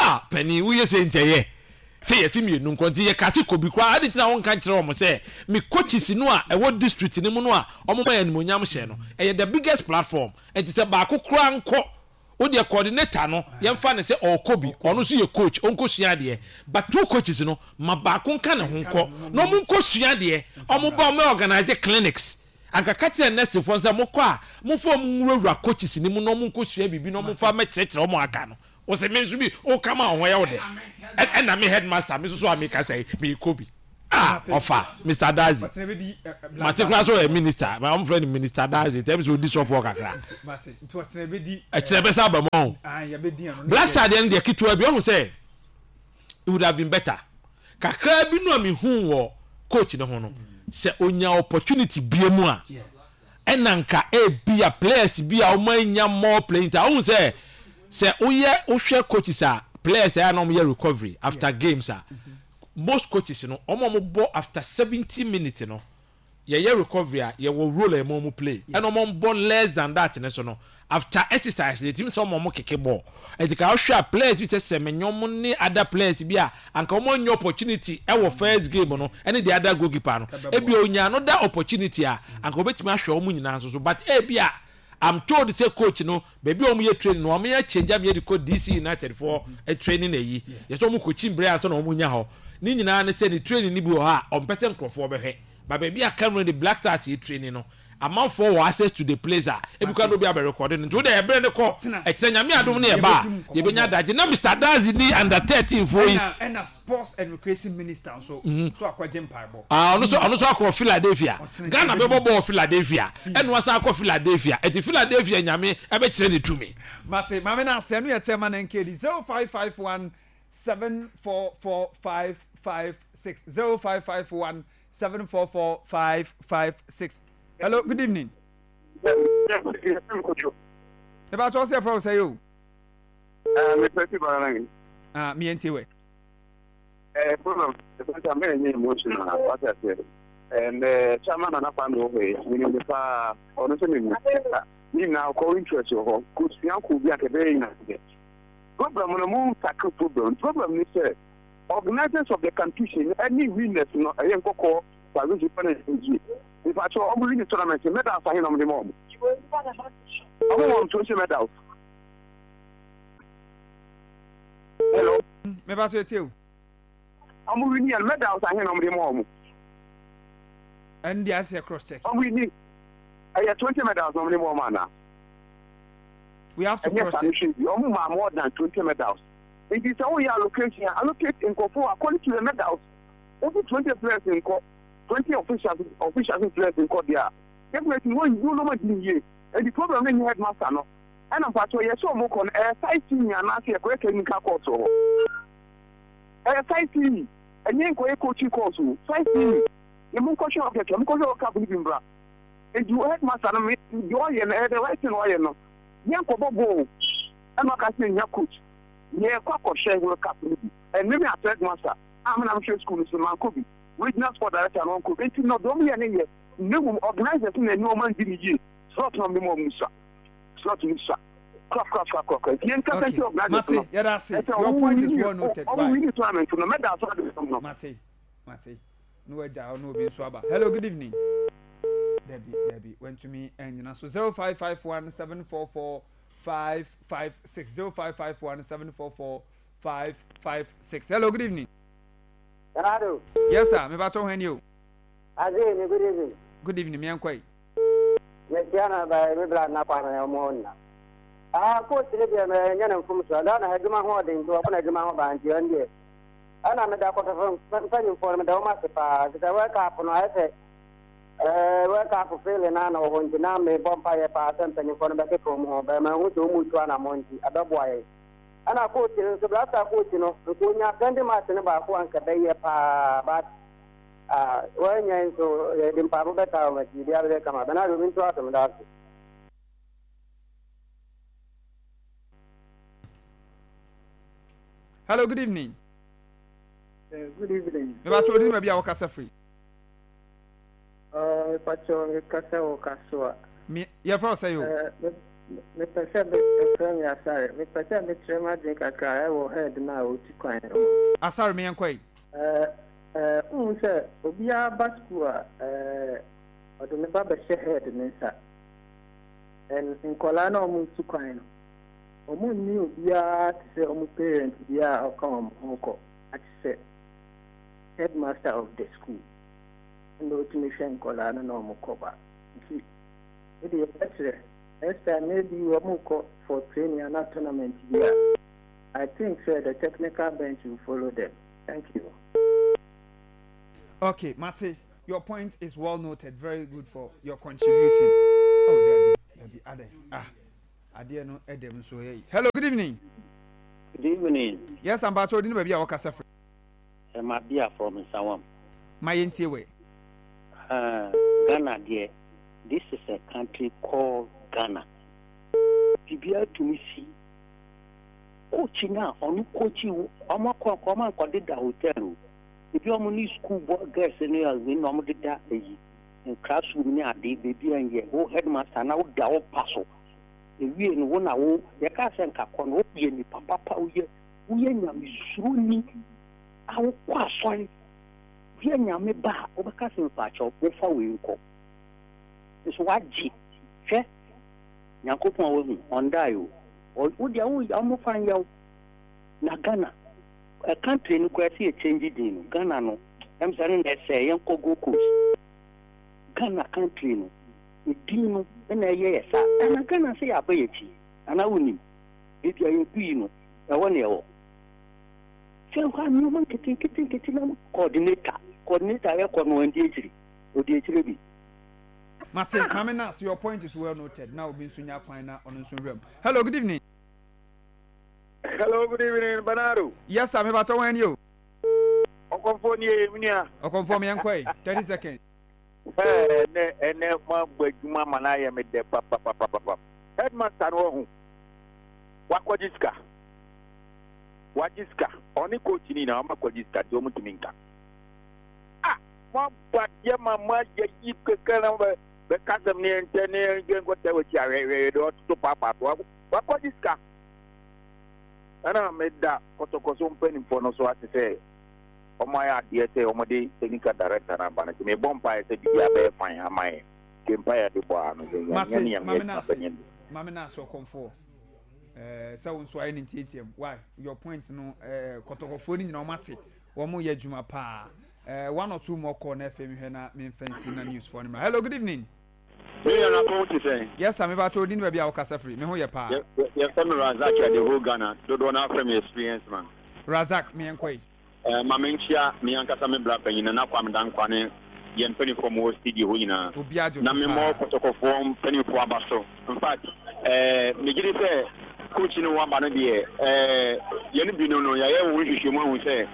a panin woyɛ sɛ nkyɛyɛ sɛ yɛsi mmienu nkɔ nti yɛ kase kobi koraa adi tena wɔn nka nkyerɛ wɔn sɛ mi coaches no a ɛwɔ district ne mu no a wɔn ma yɛ animonyam hyɛ no, ɛyɛ the biggest platform, nti sɛ baako koraa nkɔ o deɛ, coordinator no yɛmfa ne sɛ ɔrekɔ bi, ɔno nso yɛ coach, ɔnkɔ sua adeɛ, but two coaches no ma baako nka ne ho nkɔ na ɔmo nkɔ sua adeɛ, ɔmo ba ɔmo organize clinics. Anka ka kyerɛ nɛsefoɔ sɛ mokɔ a, momfa ɔmo nwurawura coaches ne mu na ɔmo nkɔsua biribi na ɔmo mfa mɛkyerɛkyerɛ ɔmo aka no. Wɔsɛ me nso bi ɔka ma ɔho yɛ wo dɛ. Ɛna me headmaster me nso so a meka sɛ meekɔ bi. Ah, ɔfa Mister Dazi. Mate koraa sɛ ɔyɛ minister, ma ɔmo frɛ no Minister Dazi, tɛm sɛ odi sɔfoɔ kakra. Ɛkyerɛ bɛsa aba mu ɔho. Black Star deɛ no deɛ ketewa bi, ɔho sɛ it would have been better. Kakra bi no a mehu wɔ coach ne ho no, sɛ onya opportunity bie mu a, ɛna nka ebi a players bi a wɔn anya more playing time. Ɔho sɛ sɛ woyɛ wohwɛ coaches a players a na wɔn yɛ recovery after games a, most coaches no wɔn a wɔn bɔ after seventy minutes no, yɛyɛ recovery a yɛwɔ role a yɛma wɔn play, ɛna wɔn bɔ less than that ne so no after exercise yɛtumi sɛ wɔn wɔn keke ball. Ɛti ka ɔhwɛ a players bi sɛ Sɛmɛnyɔm ne other players bi a anka wɔn anya opportunity ɛwɔ first game no ɛne the other goalkeeper no, ebi onya another opportunity a anka obetumi ahwɛ wɔn nyinaa nso so. But ebi a I'm told sɛ coach no baabi a wɔn yɛ training no, wɔn yɛ change am yɛ de kɔ D C United for training ayi yɛ sɛ wɔn kɔ kyi mbere ansa na wɔn nya hɔ ne nyinaa ne sɛ ne training ni bi wɔ hɔ a ɔmpɛ sɛ nkurɔfoɔ bɛhwɛ ba baabi a Cameroon de Black Stars yɛ training no, amanfoɔ wɔ access to the place a ebi kora na obi abɛ record no. Nti o de ɛbrɛ ne kɔ ɛkyerɛ Nyame adum ne ɛba a yɛbɛnya adagye na Mister Dazi ni under thirteen foɔ yi. ɛna ɛna sports and recreation minister nso so akɔgye mpaebɔ. Ah, ɔno so ɔno so akɔ Philadelphia. Ghana bɛbɔ bɔɔl Philadelphia, ɛna wasan akɔ Philadelphia. Ɛti Philadelphia Nyame ɛbɛkyerɛ ne tumi. Mate, maame na asɛ no yɛ chairman N K D zero five five one seven four four five five six zero five five one seven four four five five six. Hello, good evening. Eba to ɔsɛ fɛ ɔsɛ yi o. Mepɛ si bara nan. Ah, mi yɛn ti wɛ. Eh, problem ɛfɛ sɛ mɛyɛ nyɛ emotional, wate aseɛ. And uh, chairman Nana Kwame wɔ hɔ yi, menim ne paa. Ɔno nso menim ne nyinaa ɔkɔ interest wɔ hɔ kosua kɔ bi a kɛbɛyɛ nyina deɛ problem no mo tackle problem problem ne sɛ organisers of the competition ɛne winners no, ɛyɛ Nkɔkɔ Salvation pa na ɛyɛ nipa kyɛ ɔmo win tournament, medals ahe na ɔmo de ma ɔmo? Ɔmo wɔn twenty medals. Hello? Meba so etie o. Ɔmo win yɛn, medals ahe na ɔmo de ma ɔmo? Ɛn deɛ asɛ cross check. Ɔmo win, ɛyɛ twenty medals na ɔmo de ma ɔmo ana? We have to ɛnyɛ cross saa check. No hwɛ bi, ɔmo maa more than twenty medals. Nti sɛ woyɛ allocation a, allocate nkɔfo according to the medals. Wofi twenty players nkɔ, twenty officials officials players nkɔ deɛ a, definitely wɔn yi wɔn di yie. Nti problem no nyɛ headmaster no. Ɛna mpatsɔ yɛ sɛ ɔmo kɔ no, ɛyɛ sightseeing anaasɛ yɛkɔyɛ technical course wɔ hɔ? Ɛyɛ sightseeing, ɛnyɛ nkɔyɛ coaching course o. Sightseeing na mo nkɔhwɛ hɔ kɛkɛ, mo nkɔhwɛ hɔ cup no bi mbra. Nti headmaster no, me deɛ ɔyɛ no, ɛyɛ the right thing ɔyɛ no. Yɛn nkɔbɔ bɔɔl ɛna ɔka sɛ nya coach, yɛkɔ akɔhwɛ World Cup no bi. Ɛne me as headmaster a me na mehwɛ school no so, mankɔ bi. Regional sport director no ɔnkɔ bi. Nti no deɛ ɔmo yɛ ne yɛ na mmom organisers no na ɛne ɔmo andi ne yie. Slot na ɔmo de ma ɔmo sua, slot no sua korakorakorakora. Nti yɛn kasa Okay. nti organisers no Mate, yɛda ase. ɛsɛ Your ɔmo point is win well noted. ɔmo Bye. win tournament no, medals ɔde no. Mate, mate. No wagya ɔno obi nso aba. Hello, good evening. Dabi, dabi, wantumi anyina so. Zero five five one seven four four five five six zero five five one seven four four five five six. Hello, good evening. Bernardo. Yes sir, me bato hwɛ ni o. Azee, good evening. Good evening, mi nkɔ yi. Mesia na ba me bla na kwa na ɔmo nna. Ah, coach ne deɛ mɛ nyɛ ne mfom so. Ghana adwuma ho ɔden nti wɔbɔ n'adwuma ho ban, nti ɔn deɛ. Ɛna meda kɔtɔfo mpanyimfoɔ no, meda wɔn ase paa. Sɛ World Cup no ayɛ sɛ ɛɛ World Cup feeling na na wɔ hɔ, nti na mebɔ mpayɛ paa sɛ mpanyimfoɔ no bɛkeka wɔn ho. Bɛrima ho sɛ wɔn mu tu anammɔ nti ɛbɛboa yɛn. Ɛna coach no nso, Black Star coach no, nka onya friendly match no baako anka bɛyɛ paa, but ah, wɔnyɛ nso yɛde mpaebɔ bɛta wɔn akyi bi abɛyɛ kama. Bernardo, obi nto asɛm da ase. Hello, good evening. Uh, good evening. Me bato odi ma bi a wɔkasa firi. Uh, Pacho, kasa wɔ Kasoa. Mi yɛfrɛ wo sɛ yi o? Uh, mepɛ sɛ mefrɛ me Asare. Mepɛ sɛ mekyerɛ m'adwene kakra ɛwɔ head no a ɔtu kwan no ho. Asare, mi yɛnkɔ yi. Uh, uh, wohu sɛ obiara ba school a, uh, ɔde ne ba bɛhyɛ head ne nsa. And nkɔlaa na ɔmo tu kwan no, ɔmo nni obiara te sɛ ɔmo parent biara a ɔka ɔmo ho kɔ ate sɛ headmaster of the school. Ɛna otumi hwɛ nkɔlaa no na ɔmo kɔ ba. Nti wode yɛbɛkyerɛ next time maybe wɔn kɔ for training ana tournament bi a I think sɛ the technical bench will follow them. Thank you. Okay, Mate, your point is well noted. Very good for your contribution. Oh, Debbie, Debbie, Ade. Ah, Ade no Edem so hey. Hello, good evening. Good evening. Yes, I'm Bacho. Didn't baby I work as a Mabia from Nsawam. My way. Uh, Ghana, dear. This is a country called Ghana. Bibia to me see. Coach na onu coach omo ko ko ko de da hotel. Ebi omo ni school boy girls ni awi na omo de da eyi. In classroom ni ade baby an wo headmaster na wo da wo paso. Ewie no wo na wo ye ka se nka ko no wo ye ni papa pa wo ye wo ye nyame suro ni a wo kwa asori. Ye nyame ba wo be ka se mpa cho wo fa we nko. So waji hwe nyankopon wo hu ondai o. Wo dia wo omo fan yaw na Ghana a country no kwa see change din no Ghana no em say na say yen ko go coast Ghana country no din no na ye ye sa na Ghana say aba ye chi ana wonim e bia ye bi no e wo na e wo se kwa mi man kete kete kete na coordinator coordinator ye ko no ndi echiri odi echiri bi. Mate, Mame Nas, your point is well noted. Now, we've been soon on room. Hello, good evening. Hello, good evening, Bernardo. Yes, I'm about to win you. Okonfo Okonfo me yankoi. thirty seconds. Eh, ne ene ma gbajuma mana ye me de pa pa pa pa pa. Headmaster no hu. Wakwajiska. Wajiska. Oni coach ni na makwajiska ti o mutumi nka. Ah, ma ba ye mama ye yi keke na be kasem ni ente ni ngengo tewe chi awewe do to papa to wakwajiska. Ana meda kotokoso mpanimfo no so ate sɛ ɔmo ayɛ adeɛ sɛ ɔmo de technical director na aba no nti mebɔ mpaeɛ sɛ biribi abɛyɛ fine ama yɛ nti mpaeɛ de bɔ ano sɛ Mate, Mame Nas, Mame Nas ɔkɔmfoɔ ɛɛ sɛ wo nso ayɛ ne ntiatiam. Why your point no ɛɛ kɔtɔkɔfoɔ no nyinaa ɔmo ate wɔn yɛ adwuma paa. Ɛɛ one or two more call na ɛfɛ mi hwɛ na mi nfɛn si na news for no. Hello, good evening. Yes, I'm about to odin baabi a wokasa firi me ho yɛ paa. Yɛfrɛ me Razak at the whole Ghana. Dodoɔ no afrɛ me experience man. Razak, me yɛnkɔ yi. Eh, ma menkyia me ankasa me bra panyin na Kwame Dankwa ne yɛn mpanimfoɔ mu wɔ studio hɔ nyinaa. Obi adwo na so memmɔ paa. Kɔtɔkɔfoɔ mpanimfoɔ aba so. In fact, eh, megye di sɛ coach no waba no deɛ, eh, yɛne bi no no yɛayɛ wo nhwehwɛmu ahu sɛ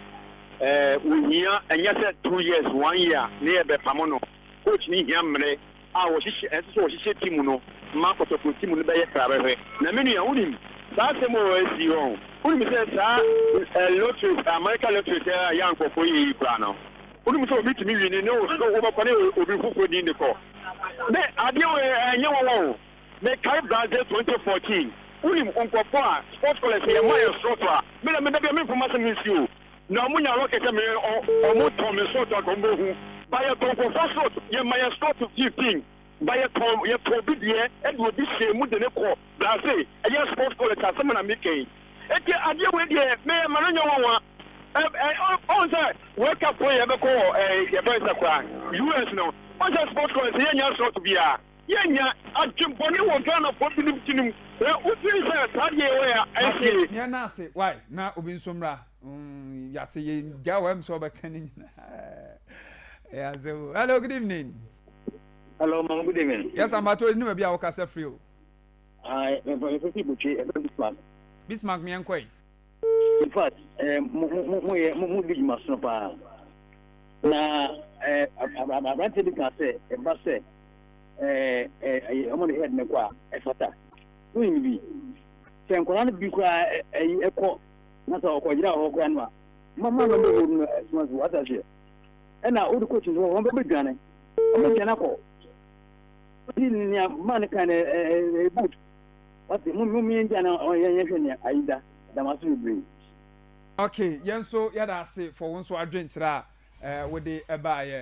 eh, wohia ɛnyɛ sɛ two years one year ne yɛbɛpamo no. Coach ne hia mmerɛ a wɔhyehyɛ ɛsɛ sɛ wɔhyehyɛ team no ma Kɔtɔkɔ team no bɛyɛ krabɛhwɛ. Na me nua wonim saa asɛm a wɔasi hɔ, wonim sɛ saa eh, lottery America lottery sɛ yɛ ankɔfoɔ yɛ yi koraa no, wonim sɛ obi tumi wini ne wobɛkɔ ne obi foforɔ din de kɔ ne adeɛ wɔ ɛnyɛ wɔwɔ o. Mekae Brazil twenty fourteen, wonim nkɔfoɔ a sports college yɛ ma yɛ slot a mena meda bia memfoma sɛ mensi o na ɔmo nya rocket sɛ me ɔmo tɔn me slot a ɔmo bɛhu ba yɛtɔn nkɔfoɔ slot yɛ ma yɛ slot fifteen ba yɛtɔn yɛtɔn obi deɛ ɛde obi hyɛ mu de ne kɔ Brazil ɛyɛ sports college asɛm na meka yi. Eti adeɛ wei deɛ meyɛ ma no nyɛ wɔnwa. Ɛ ɛ ɔn sɛ World Cup yɛ bɛkɔ wɔ ɛ yɛfrɛ sɛ koraa U S no, ɔn sɛ sports college yɛnya slot biara yɛnya adwembɔne wɔ Ghana fo binom tinim ɛ wotiri sɛ saa deɛ wɔ yɛ ɛnsie. Mate, na ase why na obi nso mmra mm yate yɛ gya wɔ m sɛ ɔbɛka ne nyinaa. Yeah, so hello, good evening. Hello, mama, good evening. Yes, I'm about to know maybe I will cast free. I am from Bismarck. Bismarck, me and Quay. In fact, eh, mo mo mo mo di maso pa. Na eh abrante bi ka sɛ ɛba sɛ eh eh ɔmo de head ne kwa ɛfata. Wo bi. Sɛ nkɔla no bi kura eh ɛkɔ na sɛ ɔkɔgyina hɔ kura no a mama no bɛ no ɛsoma so wata hwɛ. Ɛna wo de coach no wɔn bɛ dwane. Ɔmo dwane akɔ. Ni ni man kan eh boot. Wati mo mo mi ndia na ɔyɛ yɛ hwɛ ne ayida damaso bebree. Okay, yenso yada ase for won so adwenkyerɛ a eh wo de eba ye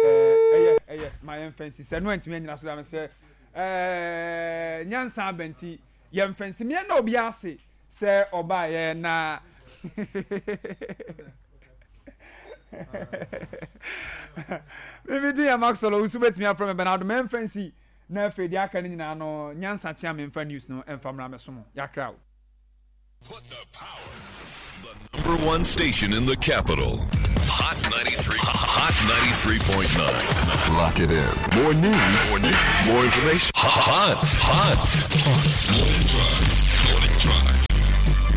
eh eye eye ma yen fancy se no antimi anyina so da me se eh nyansa abanti yen fancy me na obi ase se oba ye na Mimi din yɛ Maxwell Owusu, bɛtumi afrɛ me Bernardo. Mɛmfa nsi na afei deɛ aka no nyinaa no, nyansa kyea memfa news no ɛmfa mmra mɛso mo. Yɛakra o. Number one station in the capital. Hot ninety-three, Hot ninety-three point nine. Lock it in. More news, more news, more information. Hot, hot, hot. Morning Drive. Morning Drive.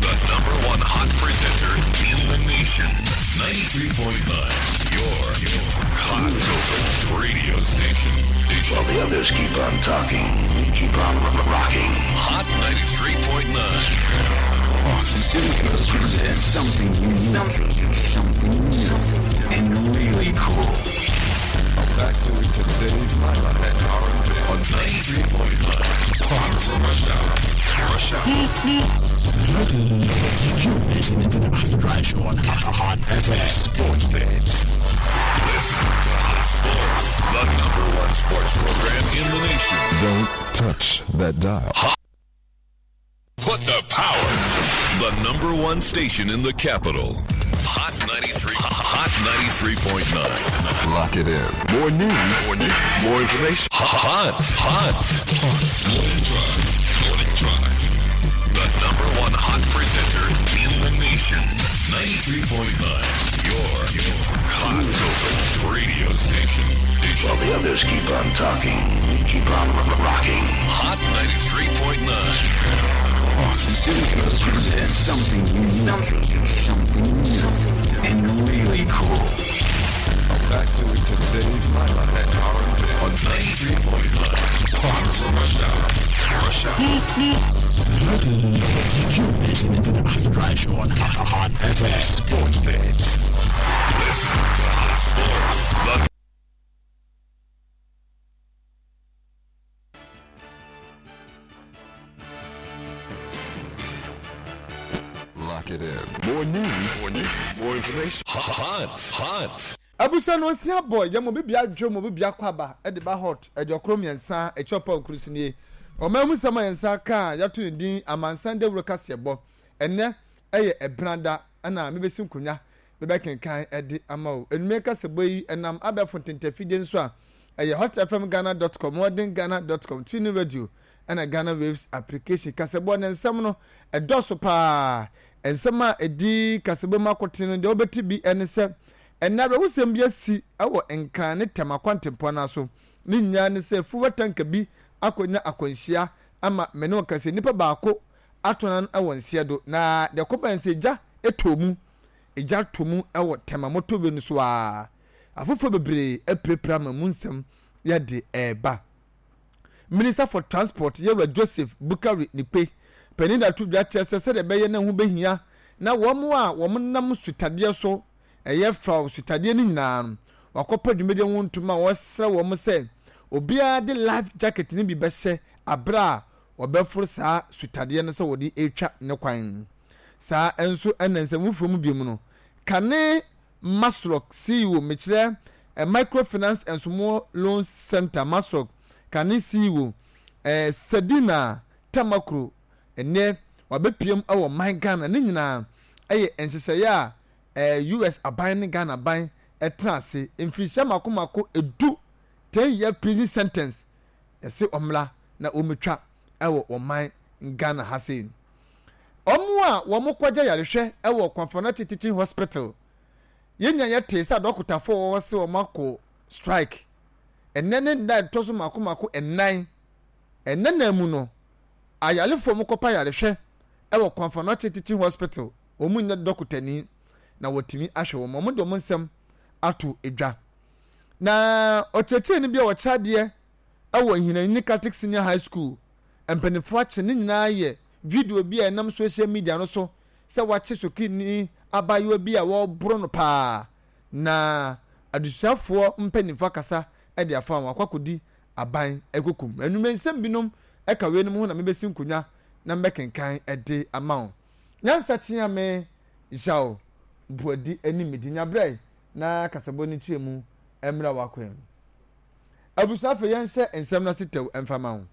The number one hot presenter in the nation. ninety-three point nine. Your, your hot radio station. While the others keep on talking, we keep on rocking. Hot ninety-three point nine. Presents something unique, something unique, something new, something new, and really cool. Back to today's highlight and R and B on ninety-three point nine. Fox. Rush Hour. Rush Hour. You're listening to the After Drive Show on Hot F M. Sports Fans. Listen to Hot Sports, the number one sports program in the nation. Don't touch that dial. Put the power. The number one station in the capital. Hot ninety-three. Hot ninety-three point nine. Lock it in. More news, more news, more information. Hot, hot, hot. Morning Drive. Morning Drive. The number one hot presenter in the nation. ninety-three point nine. Your, your hot radio station. While the others keep on talking, we keep on rocking. Hot ninety-three point nine. Presents something unique, something unique, something new, something new, and really cool. Back to today's highlight and R and B on ninety-three point nine. Fox. Rush Hour. Rush Hour. You're listening to the After Drive Show on Hot F M. Sports Fans. Listen to Hot Sports. The Lock it in. More news, more news, more information. Hot, hot. Abusua no osi abɔ yɛ mo bibi adwo mo bibi akɔ aba ɛde ba Hot aduokoro mmiɛnsa akyi ɔpa okuru so nie. Ɔman mu nsɛm a yɛn nsa ka a yɛato ne din amansan dawuro kaseɛbɔ. Ɛnɛ ɛyɛ ɛbenada ɛna mebɛsi nkonnwa mebɛkenkan ɛde ama wo. Enumere kaseɛbɔ yi ɛnam abɛɛfo ntentafidie nso a ɛyɛ hotfmghana dot com, modernghana dot com, TuneIn Radio ɛna Ghana Waves application. Kaseɛbɔ ne nsɛm no ɛdɔso paa. Nsɛm a ɛdi kaseɛbɔ mu akotene no deɛ wobɛte bi ɛne sɛ ɛnna awerɛhosɛm bi asi ɛwɔ Nkran ne Tɛm akwantempɔn no so. Ne nyinaa ne sɛ fuel tanker bi akɔnya akwanhyia ama mene wɔka sɛ nipa baako atɔ no wɔ nseɛ do, na deɛ kɔba sɛ gya ɛtɔ mu, egya tɔ mu ɛwɔ Tɛma motorway no so a afoforɔ bebree apirapira ma mu nsɛm yɛde ɛɛba. Minister for Transport, yɛwura Joseph Bukari Nikpe panin da to dwa kyerɛ sɛ sɛdeɛ ɛbɛyɛ na ho bɛhia na wɔn a wɔn nam sutadeɛ so ɛyɛ fa sutadeɛ no nyinaa no, wakɔpɛ dwumadie ho ntoma a wɔsrɛ wɔn sɛ obiara de life jacket no bi bɛhyɛ abere a wɔbɛforo saa sutadeɛ no sɛ wɔde retwa ne kwan. Saa nso ɛna nsɛm foforɔ mu bio mu no, kane MASLOC C E O, mekyerɛ eh, Microfinance and Small Loans Center, MASLOC kane C E O eh, Sedina Tamakloe, ɛnɛ wabɛpiem wɔ man Ghana. Ne nyinaa ɛyɛ nhyehyɛeɛ a eh, U S aban ne Ghana aban ɛtena ase mfirihyia mako mako edu, ten year prison sentence, yɛsɛ ɔmmra na wɔmɛtwa ɛwɔ ɔman Ghana ha sei. Ɔmo a wɔn kɔgye yarehwɛ ɛwɔ Komfo Anokye Teaching Hospital, yɛnya yɛte sɛ adɔkotafoɔ wɔwɔ sɛ wɔn akɔ strike. Ɛnɛ ne nda ɛtɔ so mako mako ɛnan. Ɛnɛ nan mu no, ayarefoɔ mo kɔpa yarehwɛ ɛwɔ Komfo Anokye Teaching Hospital, wɔn nyɛ dɔkotani na wɔtumi ahwɛ wɔn. Wɔn de wɔn nsɛm ato edwa. Na ɔkyerɛkyerɛni bi a wɔkyerɛ adeɛ ɛwɔ Hinani Catholic Senior High School, mpanimfoɔ akye. Ne nyinaa yɛ video bi a ɛnam social media no so sɛ wakye sukuni abaayewa bi a wɔreboro no paa, na adesuafoɔ mpanimfoɔ akasa de afa wɔn akɔ akɔdi aban ekokum. Enumere nsɛm binom ɛka wei nom ho na mebɛsi nkonnwa na mbɛkenkan ɛde ama wo. Nyansa kyea me yaw buadi anim di nyabrɛ na kasabɔ ne kyerɛ mu mmerɛ wakwan mu. Abusua, afei yɛnhyɛ nsɛm no ase tɛw mfama ho.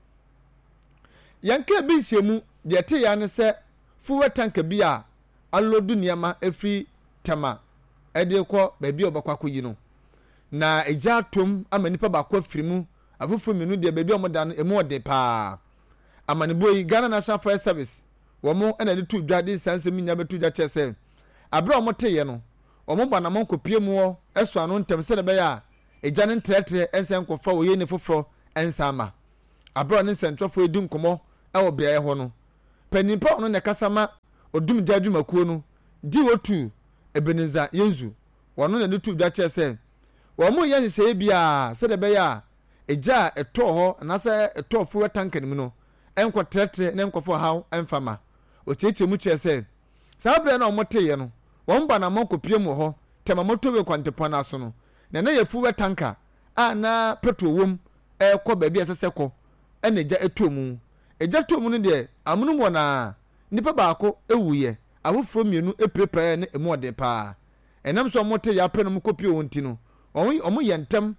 Yɛn kaa bi nhyɛmu deɛ ɛte yɛn ne sɛ fuel tanker bi a aload nneɛma efiri Tɛma de rekɔ baabi a wɔbɛkɔ akɔyi no. Na egya atom ama nipa baako afiri mu, afoforɔ mmienu deɛ baabi a wɔda no emu ɔden paa. Amanebɔ yi, Ghana National Fire Service wɔn na ɛde to dwa de saa nsɛm nyinaa bɛto dwa kyerɛ sɛ abere a wɔteeɛ no, wɔbɔ anammɔn kɔpie mu hɔ sɔ ano ntɛm sɛdeɛ ɛbɛyɛ a egya no ntrɛtrɛ nsan nkɔfa oyieni foforɔ nsan mma. Abere a ɔne nsɛntwerɛfoɔ redi nkɔmmɔ wɔ beaeɛ hɔ no, panin pa a ɔno na ɛkasa ma odumgya adwumakuo no, D O two Ebenezer Yenzu, wɔno na ɛde too dwa kyerɛ sɛ wɔreyɛ nhyehyɛeɛ biara sɛdeɛ ɛbɛyɛ a egya a ɛtɔɔ hɔ anaasɛ ɛtɔɔ fuel tanker no mu no nkɔtrɛtrɛ na nkɔfa ɔhaw mfa ma. Ɔkyerɛkyerɛ mu kyerɛ sɛ saa berɛ no a wɔteeɛ no, wɔn ba anammɔn kɔpiem wɔ hɔ Tema motorway kwantempɔn no aso no, na na ɛyɛ fuel tanker a na petrol wom rekɔ baabi a ɛsɛ sɛ ɛkɔ ɛna egya tɔɔ mu. Egya tɔɔ mu no deɛ, amonom hɔ no ara, nipa baako wuiɛ, afoforɔ mmienu pirapiraeɛ na emu ɔden paa. Ɛnam sɛ wɔte yaw pɛ na wɔkɔpie hɔ nti no, wɔn wɔyɛ ntɛm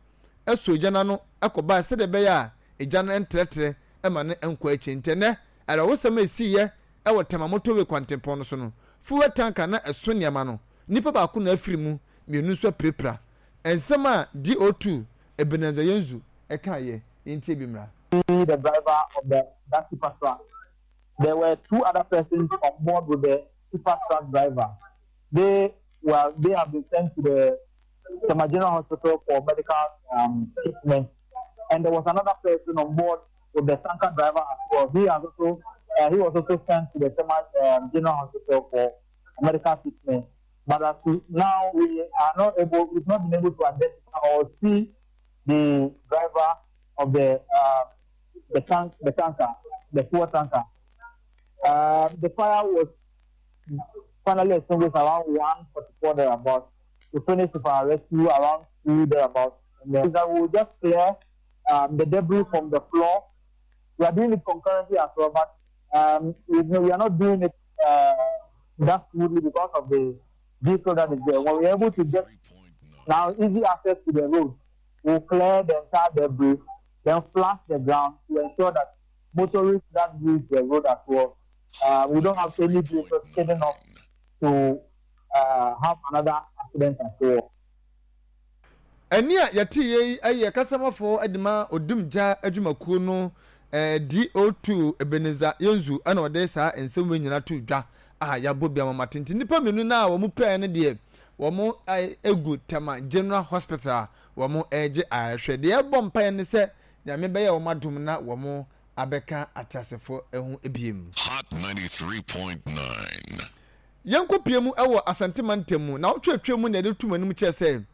sɔ egya no ano kɔbaeɛ sɛdeɛ ɛbɛyɛ a egya no ntrɛtrɛ ma no nkɔ akyire. Nti ɛnnɛ, awerɛhosɛm a ɛsiiɛ wɔ Tema motorway kwantempɔn no so no, fuel tanker na ɛso nneɛma no, nipa baako na afiri mu, mmienu nso apirapira. Nsɛm a D O two Ebenezer Yenzu kaeɛ, yɛntie bi mmra. The driver of the that tipper truck. There were two other persons on board with the tipper truck driver. They were they have been sent to the Tema General Hospital for medical um, treatment. And there was another person on board with the tanker driver as well. He has also uh, he was also sent to the Tema um, General Hospital for medical treatment. But as to now, we are not able, we've not been able to identify or see the driver of the uh, the tank, the tanker, the fuel tanker. Uh, the fire was finally extinguished around one forty-four thereabouts. We finished with our rescue around two thereabouts. And then we will just clear um, the debris from the floor. We are doing it concurrently as well, but um, we, we are not doing it uh, that smoothly because of the vehicle that is there. When we are able to get now easy access to the road, we'll clear the entire debris, then flush the ground to ensure that motorists that use the road as well, uh, we don't have any vehicles skidding off to uh, have another accident as well. Ɛne a yɛte yɛ yi yɛ kasamafoɔ de ma odumgya adwumakuo no eh, D O two Ebenezer Yenzu ɛna ɔde saa nsɛm wei nyinaa to dwa a yɛabɔ bi ama mate. Nti nnipa mmienu no a wɔn pɛɛ no deɛ, wɔn egu Tema General Hospital a wɔn regye ayɛhwɛ. Deɛ ɛbɔ mpaeɛ ne sɛ Nyame bɛyɛ wɔn adom na wɔn abɛka ateasefoɔ ho biem. Hot ninety-three point nine. Yɛnkɔ pie mu wɔ Asantema ntam mu na wotwetwe mu na yɛde tum anim kyerɛ sɛ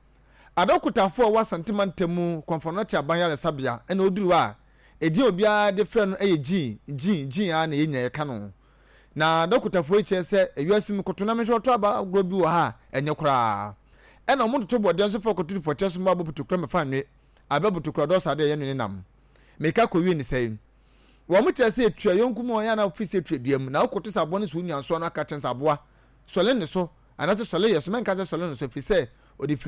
adɔkotafoɔ a wɔwɔ Asantema ntam mu Komfo Anokye aban yaresabea ɛna oduru hɔ a edin a obiara de frɛ no yɛ Gene, Gene, Gene a na yɛn nyinaa yɛka no. Na adɔkotafoɔ yi kyerɛ sɛ ewiase mu koto na mehwɛ ɔtɔ aba agorɔ bi wɔ ha a ɛnyɛ koraa. Ɛna wɔn toto bɔdeɛ nso fa kɔto fɔkyɛ so mmoa bɔ putokura mɛfa nwe abɛ botokura dɔɔso adeɛ yɛ nwene nam meka kɔwie ne sɛe. Wɔn kyerɛ sɛ etua yɔnko mu a ɔyɛ ana fi sɛ etua dua mu na wokɔto sɛ aboa no so onua nsoa no aka kyɛn sɛ aboa sɔle ne so anaasɛ sɔle yɛ so mɛnka sɛ sɔle no so ɛfiri sɛ ɔde firi